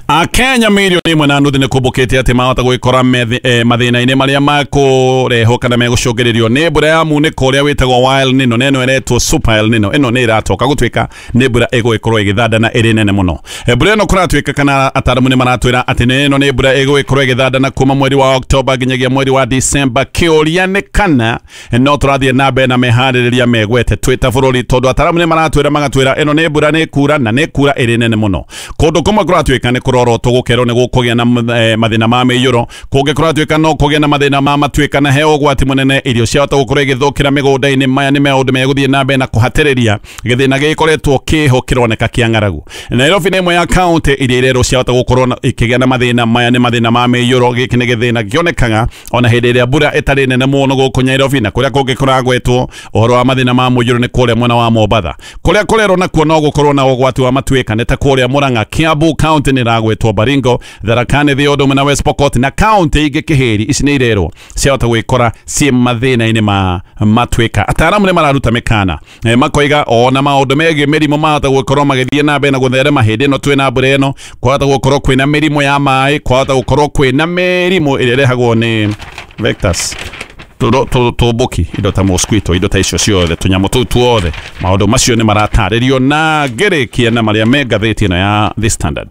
Akenya milioni ĩmwe na nuthu nĩ kũmbũkĩte atĩ mahota gwĩkora eh, mathĩna-inĩ marĩa makũrehwo kana megũcũngĩrĩrio nĩ mbura ya munĩko ũrĩa wĩtagwo wa El Nino, na ĩno ĩretwo Super El Nino. Ĩno nĩ ĩratoka gũtuĩka nĩ mbura ĩgũgĩkorwo ĩgĩthanda na ĩrĩ nene mũno. Mbura ĩno kũratuĩka kana ataaramu nĩ maratwĩra atĩ nĩ ĩno nĩ mbura ĩgũgĩkorwo ĩgĩthanda na kuma mweri wa Oktoba nginyagia mweri wa Disemba. Kĩũria nĩ kana no tũrathiĩ na mbere na meharĩrĩria megwete twĩ ta bũrũri, tondũ ataaramu nĩ maratwĩra magatwĩra ĩno nĩ mbura nĩ kura na nĩ kura ĩrĩ nene mũno. Kũndũ kũmwe kũratuĩka nĩ kũrorotwo gũkerwo nĩ gũkũgĩa na eh, mathĩna ma mĩiyũro, kũngĩ kũratuĩka no kũgĩa na mathĩna ma matuĩka na he ũgwati mũnene, irio ciahota gũkorwo igĩthũkĩra mĩgũnda-inĩ. Maya nĩ maũndũ megũthiĩ na mbere na kũhatĩrĩria gĩthĩna gĩkoretwo kĩho kĩroneka kĩa ng'aragu. Nairobi nĩ ĩmwe ya kaunti iria irerwo ciahota gũkorwo ikĩgĩa na mathĩna maya nĩ mathĩna ma mĩiyũro. Gĩkĩ nĩ gĩthĩna kĩonekaga ona hĩndĩ ĩrĩa mbura ĩtarĩ nene mũno gũkũ Nairobi, na kũrĩa kũngĩ kũragwetwo ũhoro wa mathĩna ma mũiyũro nĩ kũrĩa mwena wa Mombatha. Kũrĩa kũrerwo nakuo no gũkorwo na ũgwati wa matuĩka nĩ ta kũrĩa Murang'a, Kiambu kaunti nĩ ĩragwetwo, Baringo, Tharaka Nithi, Ũndũmwe na West Pokot na kaunti ingĩ Kĩhĩri. Ici nĩ irerwo ciahota gwĩkora ciĩ mathĩna-inĩ ma matuĩka. Ataaramu nĩ mararuta mĩkana e, makoiga ona maũndũ megiĩ mĩrimũ mahota gũkorwo magĩthiĩ na mbere na gũtherema hĩndĩ ĩno twĩna mbura ĩno. Kwahota gũkorwo kwĩna mĩrimũ ya maĩ, kwahota gũkorwo kwĩna mĩrimũ ĩrĩa ĩrehagwo nĩ vectors, tũmbũki, indo ta mosquito, indo ta icio ciothe, tũnyamũ tũu tuothe. Maũndũ macio nĩ maratarĩrio na ngĩrĩkia na marĩa me ngathĩti ĩno ya The Standard.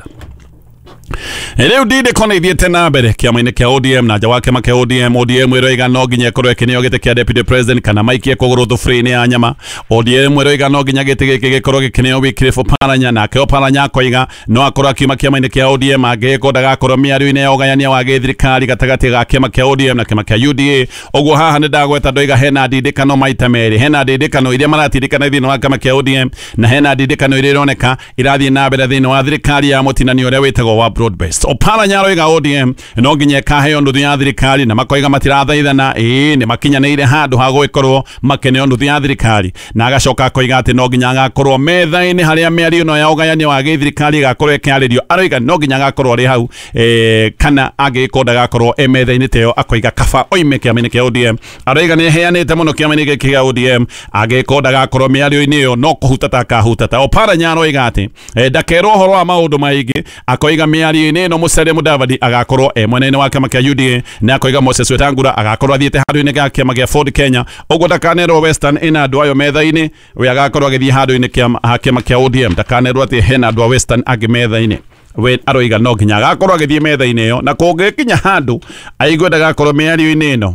Rĩu ndindĩko nĩ ithiĩte na mbere kĩama-inĩ kĩa O D M na nja wa kĩama kĩa O D M. O D M ĩroiga no nginya ĩkorwo ĩkĩneo gĩtĩ kĩa deputy president kana maikie kũgũrũ thuburia-inĩ ya nyama. O D M ĩroiga no nginya gĩtĩ gĩkĩ gĩkorwo gĩkĩneo Wycliffe Oparanya, nake Oparanya akoiga no akorwo akiuma kĩama-inĩ kĩa O D M angĩgĩkorwo ndagakorwo mĩario-inĩ ya ũgayania wa gĩthirikari gatagatĩ ga kĩama kĩa O D M na kĩama kĩa U D A. Ũguo haha nĩ ndagweta ndoiga hena ndindĩkano maita merĩ, hena ndindĩkano iria maratindĩkana thĩinĩ wa kĩama kĩa O D M na hena ndindĩkano iria ironeka irathiĩ na mbere thĩinĩ wa thirikari ya mũtinanio ũrĩa wĩtagwo wa broad based. Oparanya aroiga O D M no nginya ĩkaheo nuthu ya thirikari, na makoiga matirathaithana, ĩĩ nĩ makinyanĩire handũ ha gũgĩkorwo makeneo nuthu ya thirikari, na agacoka akoiga atĩ no nginya agakorwo metha-inĩ harĩa mĩario ĩno ya ũgayania wa gĩthirikari ĩgakorwo ĩkĩarĩrio. Aroiga no nginya agakorwo arĩ hau eh, kana angĩgĩkorwo ndagakorwo e metha-inĩ ta ĩyo akoiga kaba oime kĩama-inĩ kĩa O D M. Aroiga nĩ eheanĩte mũno kĩama-inĩ gĩkĩ kĩa O D M, angĩgĩkorwo ndagakorwo mĩario-inĩ ĩyo no kũhutata akahutata. Oparanya aroiga atĩ eh, ndakerwo ũhoro wa maũndũ maingĩ, akoiga mĩario mĩario-inĩ ĩno Musalia Mudavadi agakorwo e mwena-inĩ wa kĩama kĩa U D A na akoiga Moses Wetangula agakorwo athiĩte handũ-inĩ ga kĩama kĩa Ford Kenya ũguo ndakanerwo Western ĩna andũ ayo metha-inĩ we agakorwo agĩthiĩ handũ-inĩ ha kĩama kĩa O D M ndakanerwo atĩ hena andũ a Western angĩ metha-inĩ we aroiga no nginya agakorwo agĩthiĩ metha-inĩ ĩyo na kũngĩkinya handũ aigue ndagakorwo mĩario-inĩ ĩno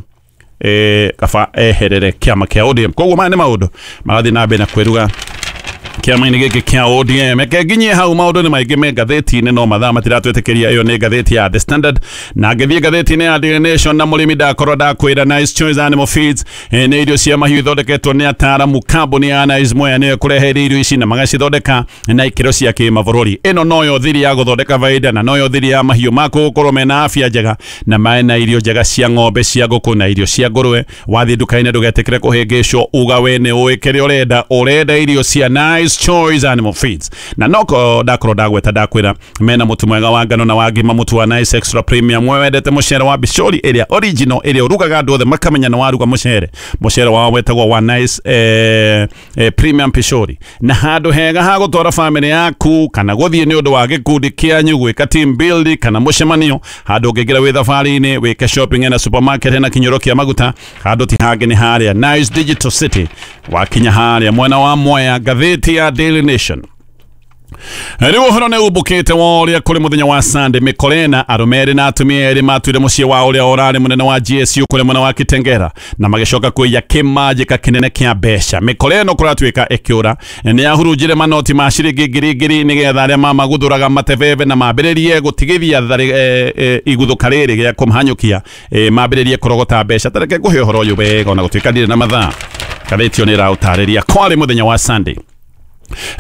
eh kaba eherere kĩama kĩa O D M. Koguo maya nĩ maũndũ magathiĩ na mbere na kwĩruga kĩama-inĩ gĩkĩ kĩa O D M. Reke nginyie hau maũndũ nĩ maingĩ me ngathĩti-inĩ no mathaa matiratwĩtĩkĩria. Ĩyo nĩ ngathĩti ya The Standard na ngĩthiĩ ngathĩti-inĩ ya Daily Nation na mũrĩmi ndakorwo ndakwĩra Nice Choice Animal Feeds nĩ irio cia mahiũ ithondeketwo nĩ ataaramu kambuni ya Nice Mwea nĩyo ĩkũreheire irio ici na magacithondeka na ikĩro cia kĩmabũrũri. Ĩno noyo thiri ya gũthondeka baida na noyo thiri ya mahiũ maku gũkorwo mena afya njega na mena irio njega cia ng'ombe cia ngũkũ na irio cia ngũrwe. Wathiĩ nduka-inĩ ndũgetĩkĩre kũhĩngĩcwo uga we nĩ ũĩ kĩrĩa ũrenda, ũrenda irio cia Nice Choice Animal Feeds. Na noko ndakorwo ndagweta ndakwĩra mena mũtu mwega wa ngano na wa ngima, mũtu wa Nice Extra Premium. We wendete mũcere wa bicori ĩrĩa original ĩrĩa ũrugaga andũ othe makamenya nĩ waruga mũcere. Mũcere wao wetagwo wa Nice eh, eh, Premium Pishori. Na handũ hega ha gũtwara family yaku kana gũthiĩ nĩ ũndũ wa gĩkundi kĩanyu gwĩka team building kana mũcemanio, handũ ũngĩingĩra wĩ thabarĩ-inĩ wĩke shopping na supermarket na kinyũro kĩa maguta, handũ ti hangĩ nĩ harĩa Nice Digital City. Wakinya harĩa mwena wa Mwea, ngathĩti ya Daily Nation. Rĩu ũhoro nĩ umbũkĩte wa ũrĩa kũrĩ mũthenya wa Sunday mĩkorena arũme erĩ na atumia erĩ matuire mũciĩ wa ũrĩa ũrarĩ mũnene wa G S U kũrĩ mwena wa Kitengera na magĩcoka kũiya kĩmanjĩka kĩnene kĩa mbeca. Mĩkora ĩno kũratuĩka ĩkĩũra nĩ yahurunjire manoti ma ciringi ngiri ngiri nĩgetha arĩa mamaguthũraga matebebe na mambĩrĩrie gũtigithia e, e, iguthũka rĩrĩ gĩa kũmahanyũkia e, mambĩrĩrie kũrogota mbeca. Ta reke ngũhe ũhoro ũyũ wega ona gũtuĩka ndirĩ na mathaa. Ngathĩti ĩyo nĩ ĩraũtarĩria kwarĩ mũthenya wa Sunday.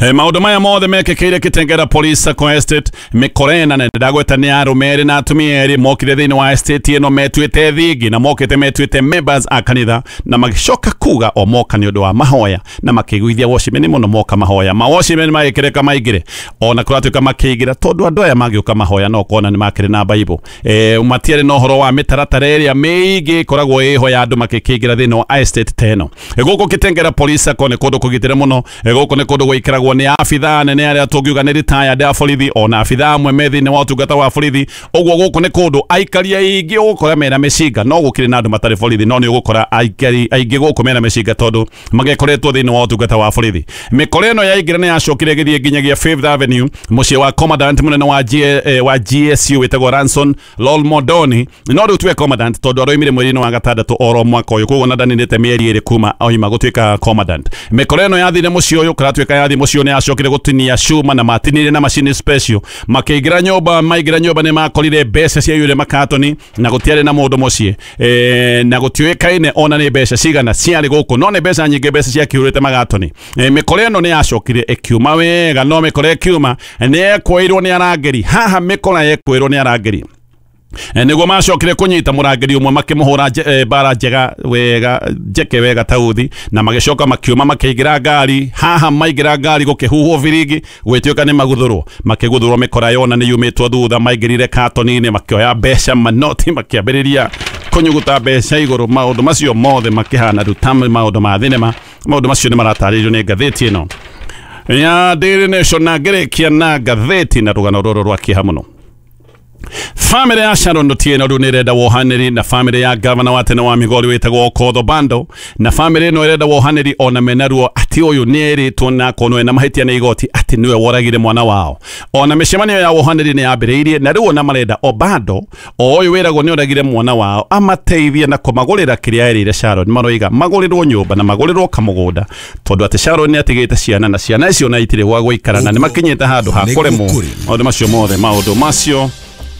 E, maũndũ maya mothe mekĩkĩire Kitengera Police Sacco Estate mĩkorena na ndagweta nĩ arũme erĩ na atumia erĩ mokire thĩinĩ wa estate ĩno metuĩte thingi na mokĩte metuĩte members a kanitha na magĩcoka kuga o moka nĩ ũndũ wa mahoya na makĩiguithia watchmen mũno moka mahoya ma watchmen magĩkĩreka maingĩre ona kũratuĩka makĩingĩra tondũ andũ aya magĩũka mahoya no kona nĩ makĩrĩ na Bible e, matiarĩ na ũhoro wa mĩtaratara ĩrĩa mĩingĩ ĩkoragwo ĩho ya andũ makĩkĩingĩra thĩinĩ wa estate ta ĩno. E, gũkũ Kitengera Police Sacco nĩ kũndũ kũgitĩre mũno. E, gũkũ nĩ kũndũ gũikaragwo nĩ abithaa nene arĩa tũngiuga nĩ retired a borithi ona abithaa amwe me thĩinĩ wa ũtungata wa borithi. Ũguo gũkũ nĩ kũndũ aikari aingĩ ũgũkora mena mĩcinga no gũkĩrĩ na andũ matarĩ borithi no nĩ ũgũkora aikari aingĩ gũkũ mena mĩcinga tondũ magĩkoretwo thĩinĩ wa ũtungata wa borithi. Mĩkora ĩno yaingĩra nĩ yacokire ĩgĩthiĩ nginyagia Fifth Avenue mũciĩ wa commandant mũnene wa G, eh, wa G S U wĩtagwo Ranson Lolmodoni no rĩu tuwe commandant tondũ aroimire mweri-inĩ wa gatandatũ oro mwaka ũyũ koguo na ndaninĩte mĩeri ĩrĩ kuma oima gũtuĩka commandant. Mĩkora ĩno yathire mũciĩ ũyũ kũratuĩka yathi mũciĩ nĩ acokire gũtinia cuma na matinire na macini special makĩingĩra nyũmba maingĩra nyũmba nĩ makorire mbeca ciaiyũire makatoni na gũtiarĩ na mũndũ mũciĩ e, na gũtiũĩkaine ona nĩ mbeca cigana ciarĩ gũkũ no nĩ mbeca nyingĩ mbeca ciakĩihũrĩte magatoni. E, mĩkora ĩno nĩ yacokire ĩkiuma wega no mĩkora ĩkiuma nĩ yekũĩrwo nĩ arangĩri haha mĩkora yekũĩrwo nĩ arangĩri nĩguo macokire kũnyita mũrangĩri ũmwe makĩmũhũra bara njega wega njeke wega tauthi na magĩcoka makiuma makĩingĩra ngari haha maingĩra ngari gũkĩhuhwo biringi gwĩtuĩka nĩ maguthũrwo makĩguthũrwo mĩkora yona nĩ yumĩtwo thutha maingĩrire katoni-inĩ makĩoya mbeca manoti makĩambĩrĩria kũnyuguta mbeca igũrũ. Maũndũ macio mothe makĩhana rĩu ta maũndũ ma thinema. Maũndũ macio nĩ maratarĩrio nĩ ngathĩti ĩno ya Daily Nation na ngĩrĩkia na ngathĩti na rũgano rũrũ rwa kĩeha mũno. Family ya Sharon Otieno rĩu nĩ ĩrenda wohanĩri na family ya gavana wa tene wa Migori wĩtagwo Okoth Obando na family ĩno ĩrenda wohanĩri ona mena ruo atĩ ũyũ nĩ erĩtwo na akonwo ena mahĩtia nĩ igoti atĩ nĩwe woragire mwana wao. Ona mĩcemanio ya wohanĩri nĩ yambĩrĩirie na rĩu ona marenda Obando o ũyũ wĩragwo nĩ oragire mwana wao amateithie na kũmagũrĩra kĩrĩa erĩire Sharon. Maroiga magũrĩrwo nyũmba na magũrĩrwo kamũgũnda tondũ atĩ Sharon nĩ atigĩte ciana na ciana icio na itirĩ gwa gũikara na nĩ makinyĩte handũ ha kũremwo. Maũndũ macio mothe maũndũ macio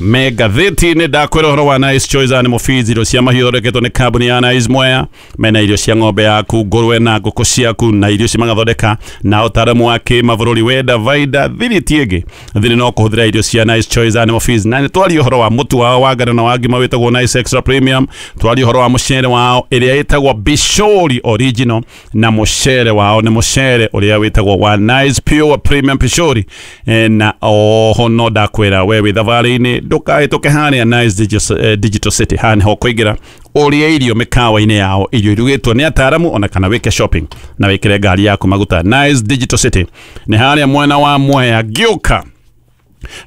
me ngathĩti-inĩ ndakwĩra ũhoro wa Nice Choice Animal Feeds irio cia mahiũ ithondeketwo nĩ kambuni ya Nice Mwea mena irio cia ng'ombe yaku ngũrwe na ngũkũ ciaku na irio ici magathondeka na ũtaaramu wa kĩmabũrũri wenda vaida thiri ti ĩngĩ thiri no kũhũthĩra irio cia Nice Choice Animal Feeds. Na nĩ twarie ũhoro wa mũtu wao wa ngano na wa ngima wĩtagwo Nice Extra Premium, twarie ũhoro wa mũcere wao ĩrĩa ĩtagwo Bishori Original na mũcere wao nĩ mũcere ũrĩa wĩtagwo wa Nice Pure Premium Bishori. E, na oho no ndakwĩra we wĩ thabarĩ-inĩ ndũkahĩtũke harĩa Nice Digital, Digital City haha nĩho ũkũingĩra ũrĩe irio mĩkawa-inĩ yao irio irugĩtwo nĩ ataaramu ona kana wĩke shopping na wĩkĩre ngari yaku maguta. Nice Digital City nĩ harĩa mwena wa Mwea ngĩũka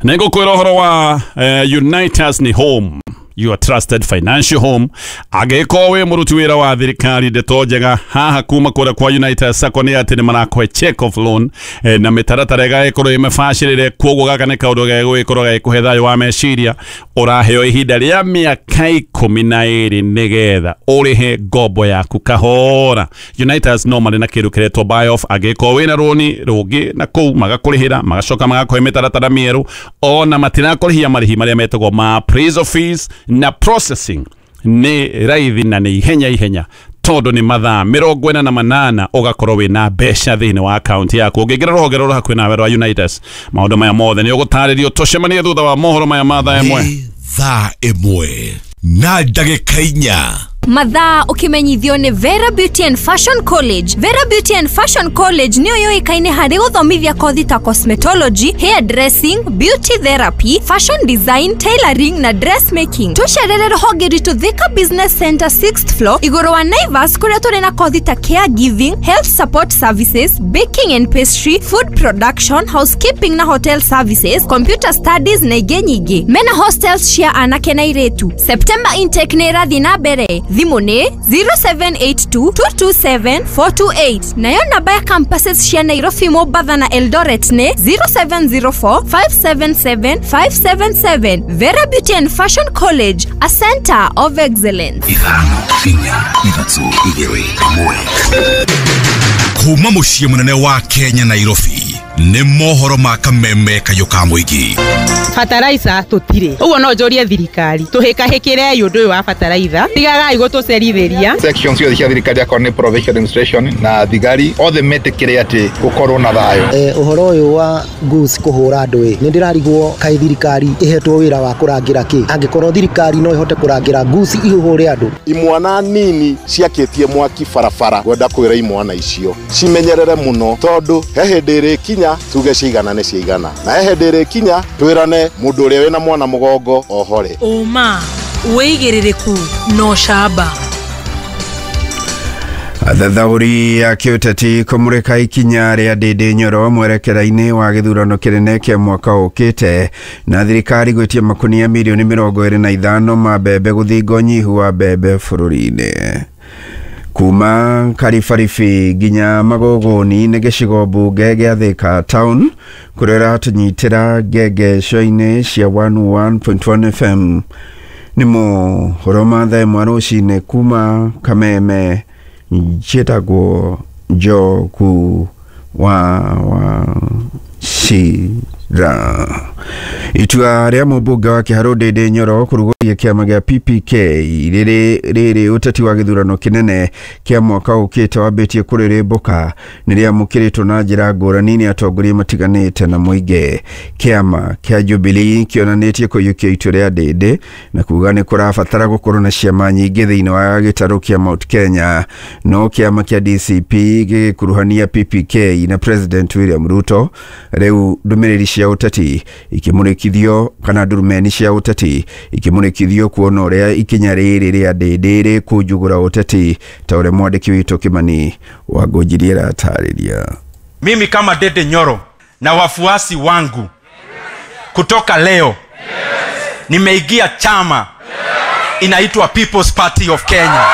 Nĩngũkwĩra ũhoro wa eh, Unitas ni home, your trusted financial home. Angĩkorwo wĩ mũruti wĩra wa thirikari, ndeto njega haha kuma kũrĩa kwa Unitas Sacco nĩ atĩ nĩ marakũhe check off loan eh, na mĩtaratara ĩgagĩkorwo ĩmĩbacĩrĩre. Koguo gaka nĩ kaũndũ gegũgĩkorwo gagĩkũhe thayũ wa meciria. Ũraheo ihinda rĩa mĩaka ikũmi na ĩrĩ nĩgetha ũrĩhe ngombo yaku kahora. Unitas no marĩ na kĩndũ kĩretwo buy off. Angĩkorwo wĩna rũni rũngĩ na kũu magakũrĩhĩra, magacoka magakũhe mĩtaratara mĩerũ, ona matirakũrĩhia marĩhi marĩa metagwo ma appraisal fees na processing nĩ raithi na nĩ ihenya ihenya, tondũ nĩ mathaa mĩrongo ĩna na manana ũgakorwo wĩna mbeca thĩinĩ wa akaunti yaku. Ũngĩingĩra rũhonge rũrũ hakuhĩ nawe rwa Unitas, maũndũ maya mothe nĩ ũgũtarĩrio. Tũcemanie thutha wa mohoro maya ma thaa ĩmwe. Nĩ thaa ĩmwe na ndagĩka inya. Mathaa ũkĩmenyithio nĩ Vera Beauty and Fashion College. Vera Beauty and Fashion College nĩyo yũĩkaine harĩ gũthomithia kothi ta cosmetology, hair dressing, beauty therapy, fashion design, tailoring na dressmaking. Tũcerere rũhonge rwitũ Thika Business Center sixth floor igũrũ wa Naivas, kũrĩa tũrĩ na kothi ta caregiving, health support services, baking and pastry, food production, housekeeping na hotel services, computer studies na ingĩ nyingĩ. Mena hostels cia anake na airĩtu. September intake nĩ ĩrathiĩ na mbere. Thimũ nĩ zero seven eight two, two two seven, four two eight, nayo namba ya campuses cia Nairobi, Mombatha na Eldoret nĩ zero seven zero four, five seven seven, five seven seven. Vera Beauty and Fashion College, a center of excellence. Ithano, inya, ithatũ, igĩrĩ, ĩmwe. Kuma mũciĩ mũnene wa Kenya, Nairobi, nĩ mohoro ma kameme kayũ ka mũingĩ. Bataraitha tũtirĩ, ũguo no njũrie thirikari tũhĩkahĩkĩrei ũndũ ũyũ wa bataraitha, tigagai gũtũcerithĩria. Section ciothe cia thirikari, akorwo nĩ provincial administration na thigari othe, metĩkĩre atĩ gũkorwo na thayũ. Eh, ũhoro ũyũ wa goose kũhũra andũ ĩ, nĩ ndĩrarigwo kaĩ thirikari ĩhetwo wĩra wa kũrangĩra kĩ, angĩkorwo thirikari no ĩhote kũrangĩra goose ihũhũre andũ. Imwana nini ciakĩtie mwaki barabara, ngwenda kwĩra imwana icio cimenyerere mũno, tondũ he hĩndĩ ĩrĩkinya tuge ciigana nĩ ciigana, na he hĩndĩ ĩrĩkinya twĩrane mũndũ ũrĩa wĩna mwana mũgongo ohore. Ũma, wĩigĩrĩrĩku na ũcamba. Athathaũri a kĩũteti kũmũrĩka ikinya rĩa Ndĩndĩ Nyoro mwerekera-inĩ wa gĩthurano kĩnene kĩa mwaka ũkĩte, na thirikari gwĩtia makunia mirioni mĩrongo ĩrĩ na ithano ma mbembe gũthinga ũnyihu wa mbembe bũrũri-inĩ. Kuma Karibaribi nginya Magogoni nĩ gĩcigo mbunge gĩa Thika Town, kũrĩa ũratũnyitĩra ngengeco-inĩ cia one oh one point one F M. Nĩ mohoro ma thaa ĩmwe rũcinĩ kuma Kameme. Njĩtagwo Njogu wa wa Cira. Itua rĩa mũmbunge wa Kĩharũ Ndĩndĩ Nyoro kũrugũria kĩama gĩa P P K rĩrĩ rĩrĩ ũteti wa gĩthurano kĩnene kĩa mwaka ũkĩte wambĩtie kũrĩrĩmbũka nĩ rĩamũkĩrĩtwo na njĩra ngũrani nĩ atongoria matiganĩte na mũingĩ. Kĩama kĩa Jubilee kĩonanĩtie kũiyũkia itua rĩa Ndĩndĩ na kuga nĩ kũrabatara gũkorwo na ciama nyingĩ thĩinĩ wa gĩtarũ kĩa Mount Kenya, no kĩama kĩa D C P gĩgĩkuruhania P P K na President William Ruto. Rĩu ndũmĩrĩri cia ũteti ikĩmũrĩkithio kana ndurumeni cia ũteti ikĩmũrĩkithio kuona ũrĩa ikinya rĩrĩ rĩa Ndĩndĩ rĩkũnjugũra ũteti, ta ũrĩa mwandĩki witũ Kimani Wangũnjirie aratarĩria. Mimi kama Ndindi Nyoro na wafuasi wangu, kutoka leo nimeingia chama inaitwa People's Party of Kenya.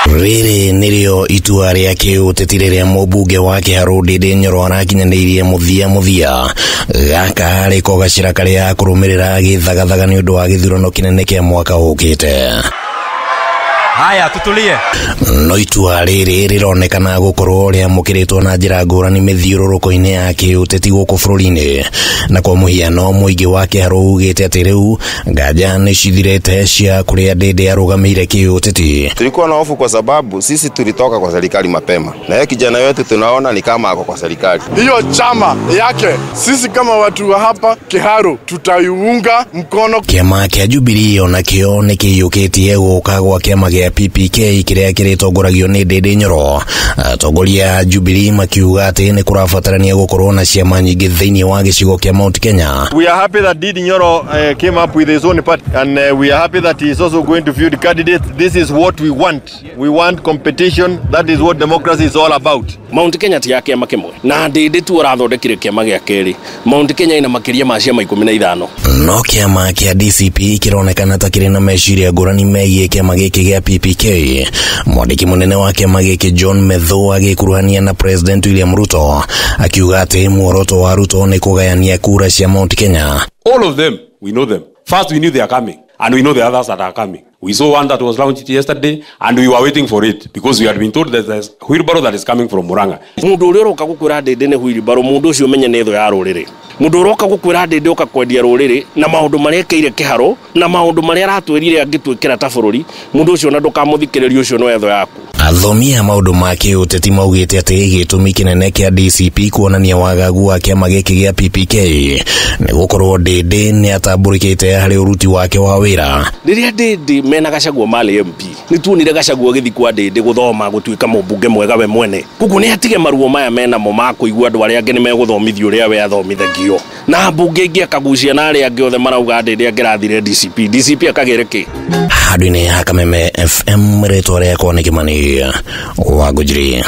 Rĩrĩ nĩrĩo itua rĩa kĩũteti rĩrĩa mũmbunge wa Kĩharũ Ndĩndĩ Nyoro arakinyanĩirie mũthia mũthia. Gaka rĩko gacĩra karĩa kũrũmĩrĩra gĩthagathaga nĩ ũndũ wa gĩthurano kĩnene kĩa mwaka ũkĩte. Haya, tutulie. No itua rĩrĩ rĩronekana gũkorwo rĩamũkĩrĩtwo na njĩra ngũrani mĩthiũrũrũko-inĩ ya kĩũteti gũkũ bũrũri-inĩ, na kwa mũhiano mũingĩ wa Kĩharũ ugĩte atĩ rĩu nganja nĩ cithirĩte cia kũrĩa Ndĩndĩ arũgamĩire kĩũteti. Tulikuwa na hofu kwa sababu sisi tulitoka kwa serikali mapema, na yeye kijana wetu tunaona ni kama ako kwa serikali. Hiyo chama yake sisi kama watu wa hapa Kiharu tutaiunga mkono. Kĩama kĩa Jubilee onakĩo nĩ kĩiyũkĩtie gũka gwa kĩama gĩa kĩa P P K kĩrĩa kĩrĩtongoragio nĩ Ndindi Nyoro. Atongoria a Jubilee makiuga atĩ nĩ kũrabatarania gũkorwo na ciama nyingĩ thĩinĩ wa gĩcigo kĩa Mount Kenya. We are happy that Ndindi Nyoro uh, came up with his own party, and uh, we are happy that he is also going to field candidates. This is what we want. We want competition. That is what democracy is all about. Mount Kenya ti ya kĩama kĩmwe na Ndindi tu ũrathondekire kĩama gĩa kerĩ. Mount Kenya ina makĩria ma ciama ikũmi na ithano. No kĩama kĩa D C P kĩronekana ta kĩrĩ na meciria ngũrani megiĩ kĩama gĩkĩ gĩa P P K. Mwandĩki mũnene wa kĩama gĩkĩ John Methu agĩkuruhania na President William Ruto akiuga atĩ muoroto wa Ruto nĩ kũgayania kura cia Mount Kenya. All of them, we know them. First we knew they are coming, and we know the others that are coming. We saw one that was launched yesterday, and we were waiting for it because we had been told that there's wheelbarrow that is coming from Murang'a. Mundu uria uroka gukwira Ndindi ni wheelbarrow, mundu ucio menye ni thu ya ruriri. Mundu uroka gukwira Ndindi uka kwendia ruriri na maundu maria ekeire kiharo na maundu maria aratwirire angitwikira ta bururi, mundu ucio na ndukamuthikiririe, ucio no etho yaku. Athomi a maundu ma kĩũteti maugĩte atĩ gĩtũmi kĩnene kĩa D C P kuonania wagagu wa kĩama gĩkĩ gĩa P P K nĩ gũkorwo Ndindi nĩ atambũrĩkĩte harĩ ũruti wake wa wĩra. Rĩrĩa Ndindi mena Gachagua marĩ M P, nĩ tuonire Gachagua agĩthiĩ kwa Ndindi gũthoma gũtuĩka mũmbunge mwega we mwene. Koguo nĩ atige maruo maya menamo ma kũigua andũ arĩa angĩ nĩ megũthomithio ũrĩa we athomithagio. Na mbunge ingĩ akagucia na arĩa angĩ othe marauga Ndindi angĩrathire D C P, D C P akagĩre kĩ? Handũ-inĩ ha Kameme F M, rĩtwa rĩakwa nĩ Kĩmani wa Ngũnjiri.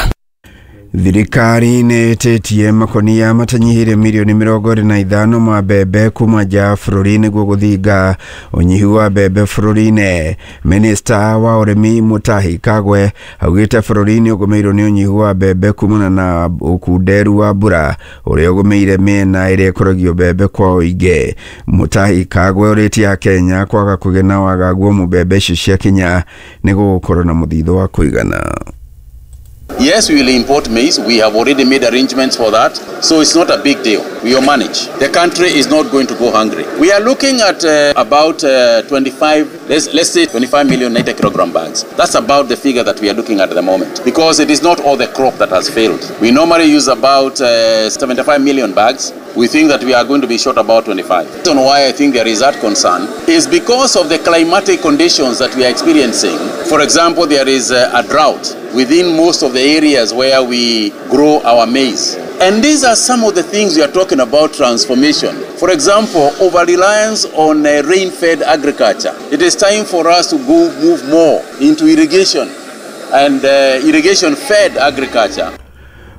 Thirikari nĩ ĩtĩtie makonia matanyihĩire mirioni mĩrongo ĩrĩ na ithano ma mbembe kuma nja ya bũrũri nĩguo gũthinga ũnyihu wa mbembe bũrũri-inĩ. Minista wa ũrĩmi Mutahi Kagwe augĩte bũrũri nĩ ũgũmĩirwo nĩ ũnyihu wa mbembe kumana na ũkunderu wa mbura ũrĩa ũgũmĩire mĩena ĩrĩa ĩkũragio mbembe kwa ũingĩ. Mutahi Kagwe ũrĩtie Akenya kwaga kũgĩa na wagagu wa mbembe icio ciakinya nĩguo gũkorwo na mũthithũ wa kũigana. Yes, we will import maize. We have already made arrangements for that. So it's not a big deal. We will manage. The country is not going to go hungry. We are looking at uh, about uh, twenty-five, let's, let's say twenty-five million ninety kilogram bags. That's about the figure that we are looking at at the moment, because it is not all the crop that has failed. We normally use about uh, seventy-five million bags. We think that we are going to be short about twenty-five. The reason why I think there is that concern is because of the climatic conditions that we are experiencing. For example, there is a, a drought within most of the areas where we grow our maize. And these are some of the things we are talking about transformation. For example, over-reliance on uh, rain-fed agriculture. It is time for us to go move more into irrigation and uh, irrigation-fed agriculture.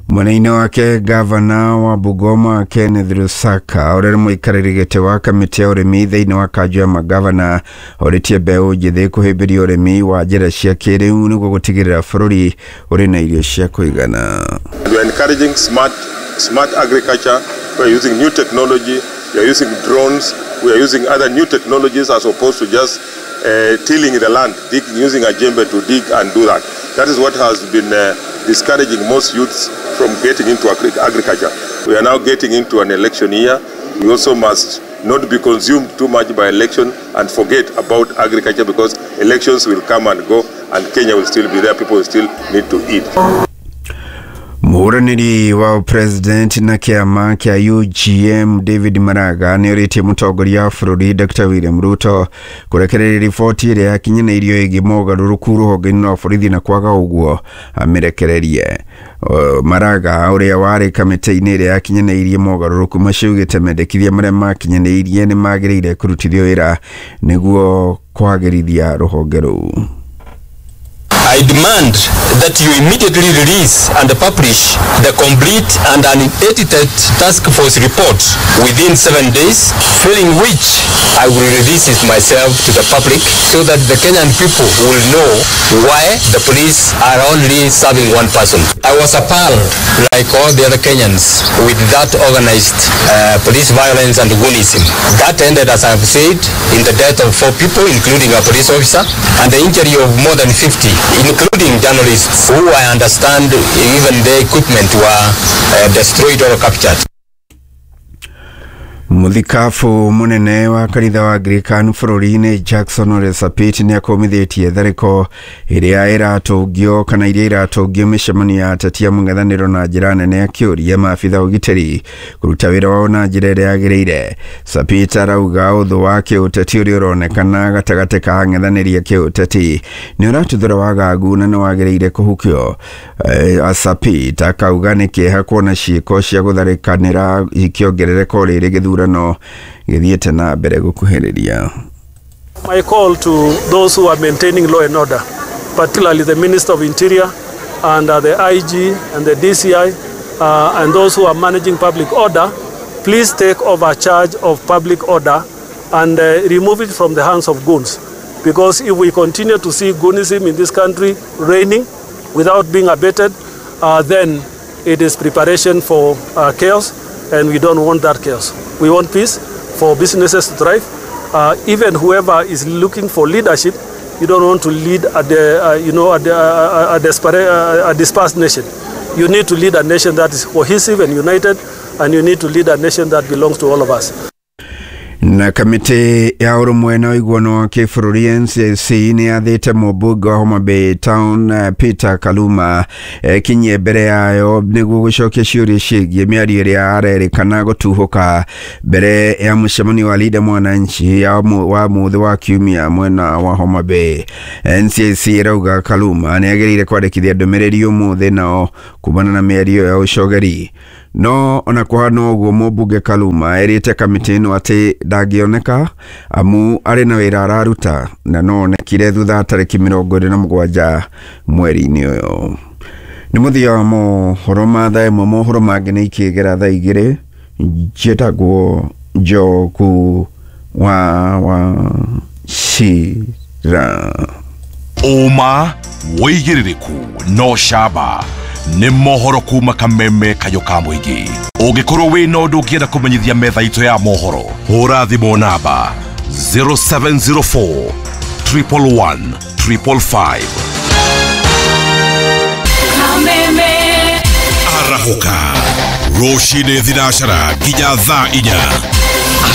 Mwena-inĩ wake gavana wa Bungoma Kenneth Lusaka ũrĩa nĩ mũikarĩri gĩtĩ wa kamĩtĩ ya ũrĩmi thĩinĩ wa kanjũ ya magavana orĩtie mbeũ njĩthĩ kũhĩmbĩria ũrĩmi wa njĩra cia kĩrĩu nĩguo gũtigĩrĩra bũrũri ũrĩ na irio cia kũigana. We are encouraging smart, smart agriculture. We are using new technology, we are using drones, we are using other new technologies as opposed to just uh, tilling the land, digging, using a jembe to dig and do that. That is what has been uh, discouraging most youths from getting into agri agriculture. We are now getting into an election year. We also must not be consumed too much by election and forget about agriculture, because elections will come and go and Kenya will still be there. People will still need to eat. Mũhũranĩri wa president na kĩama kĩa U G M David Maraga nĩorĩtie mũtongoria wa bũrũri Doctor William Ruto kũrekereria riboti ĩrĩa yakinyanĩirio ĩgiĩ mogarũrũku rũhonge-inĩ rwa borithi na kwaga ũguo amĩrekererie. Maraga ũrĩa warĩ kamĩtĩ-inĩ ĩrĩa yakinyanĩirie mogarũrũku macio augĩte mendekithia marĩa makinyanĩirie nĩ magĩrĩire kũrutithio wĩra nĩguo kwagĩrithia rũhonge rũu. I demand that you immediately release and publish the complete and unedited task force report within seven days, failing which I will release it myself to the public so that the Kenyan people will know why the police are only serving one person. I was appalled, like all the other Kenyans, with that organized uh, police violence and goonism. That ended, as I have said, in the death of four people, including a police officer, and the injury of more than fifty, including journalists who I understand even their equipment were uh, destroyed or captured. Muthikabu munene wa kanitha wa Anglican bũrũri-inĩ Jackson Ole Sapit nĩ akũmithĩtie tharĩko ĩrĩa ĩratũngio kana iria iratũngio mĩcemanio ya ateti a mũng'ethanĩro na njĩra nene, akĩũria maabitha ũgitĩri kũruta wĩra wao na njĩra ĩrĩa yagĩrĩire. Sapit arauga ũthũ wa kĩũteti ũrĩa ũronekana gatagatĩ ka ang'ethanĩri a kĩũteti nĩ ũratuthũra wagagu na nĩ wagĩrĩire kũhukio. E, Sapit akauga nĩ kĩeha kuona ciĩko cia gũtharĩkanĩra ikĩongerereka o rĩrĩ gĩthurano gĩthiĩte na mbere gũkuhĩrĩria. My call to those who are maintaining law and order, particularly the Minister of Interior and uh, the I G and the D C I uh, and those who are managing public order, please take over charge of public order and uh, remove it from the hands of goons. Because if we continue to see goonism in this country reigning without being abated, uh, then it is preparation for uh, chaos, and we don't want that chaos. We want peace for businesses to thrive. Uh, even whoever is looking for leadership, you don't want to lead a, de, uh, you know, a, a, a, desperate, a, a dispersed nation. You need to lead a nation that is cohesive and united, and you need to lead a nation that belongs to all of us. Na kamĩtĩ ya ũrũmwe na ũiguano wa kĩbũrũri N C C nĩ yathĩte mũmbunge wa Homa Bay Town Peter Kaluma ekinyie mbere yayo nĩguo gũcokia ciũria ciĩgiĩ mĩario ĩrĩa arerĩkana gũtuhũka mbere ya mũcemanio wa Linda Mwananchi ya wa mũthĩ wa kiumia mwena wa Homa Bay. N C C ĩrauga Kaluma nĩ agĩrĩire kwandĩkithia ndũmĩrĩri ũmũthĩ nao kumana na mĩario ya ũcogeri. No ona kũhana ũguo mũmbunge Kaluma erĩte kamĩtĩ ĩno atĩ ndangĩoneka amu arĩ na wĩra araruta na no onekire thutha tarĩki mĩrongo ĩrĩ na mũgwanja mweri-inĩ ũyũ. Nĩ mũthia wa mohoro ma thaa ĩmwe, mohoro mangĩ nĩ ikĩgera thaa igĩrĩ. Njĩtagwo Njogu wa Wachira. Ũma wĩigĩrĩrĩku no camba nĩ mohoro kuma kameme kayo ka mũingĩ. Ũngĩkorwo wĩna ũndũ ũngĩenda kũmenyithia metha itũ ya mohoro, hũra thimũ namba zero seven zero four triple one triple five. Kameme arahũka rũcinĩ thinacara nginya thaa inya.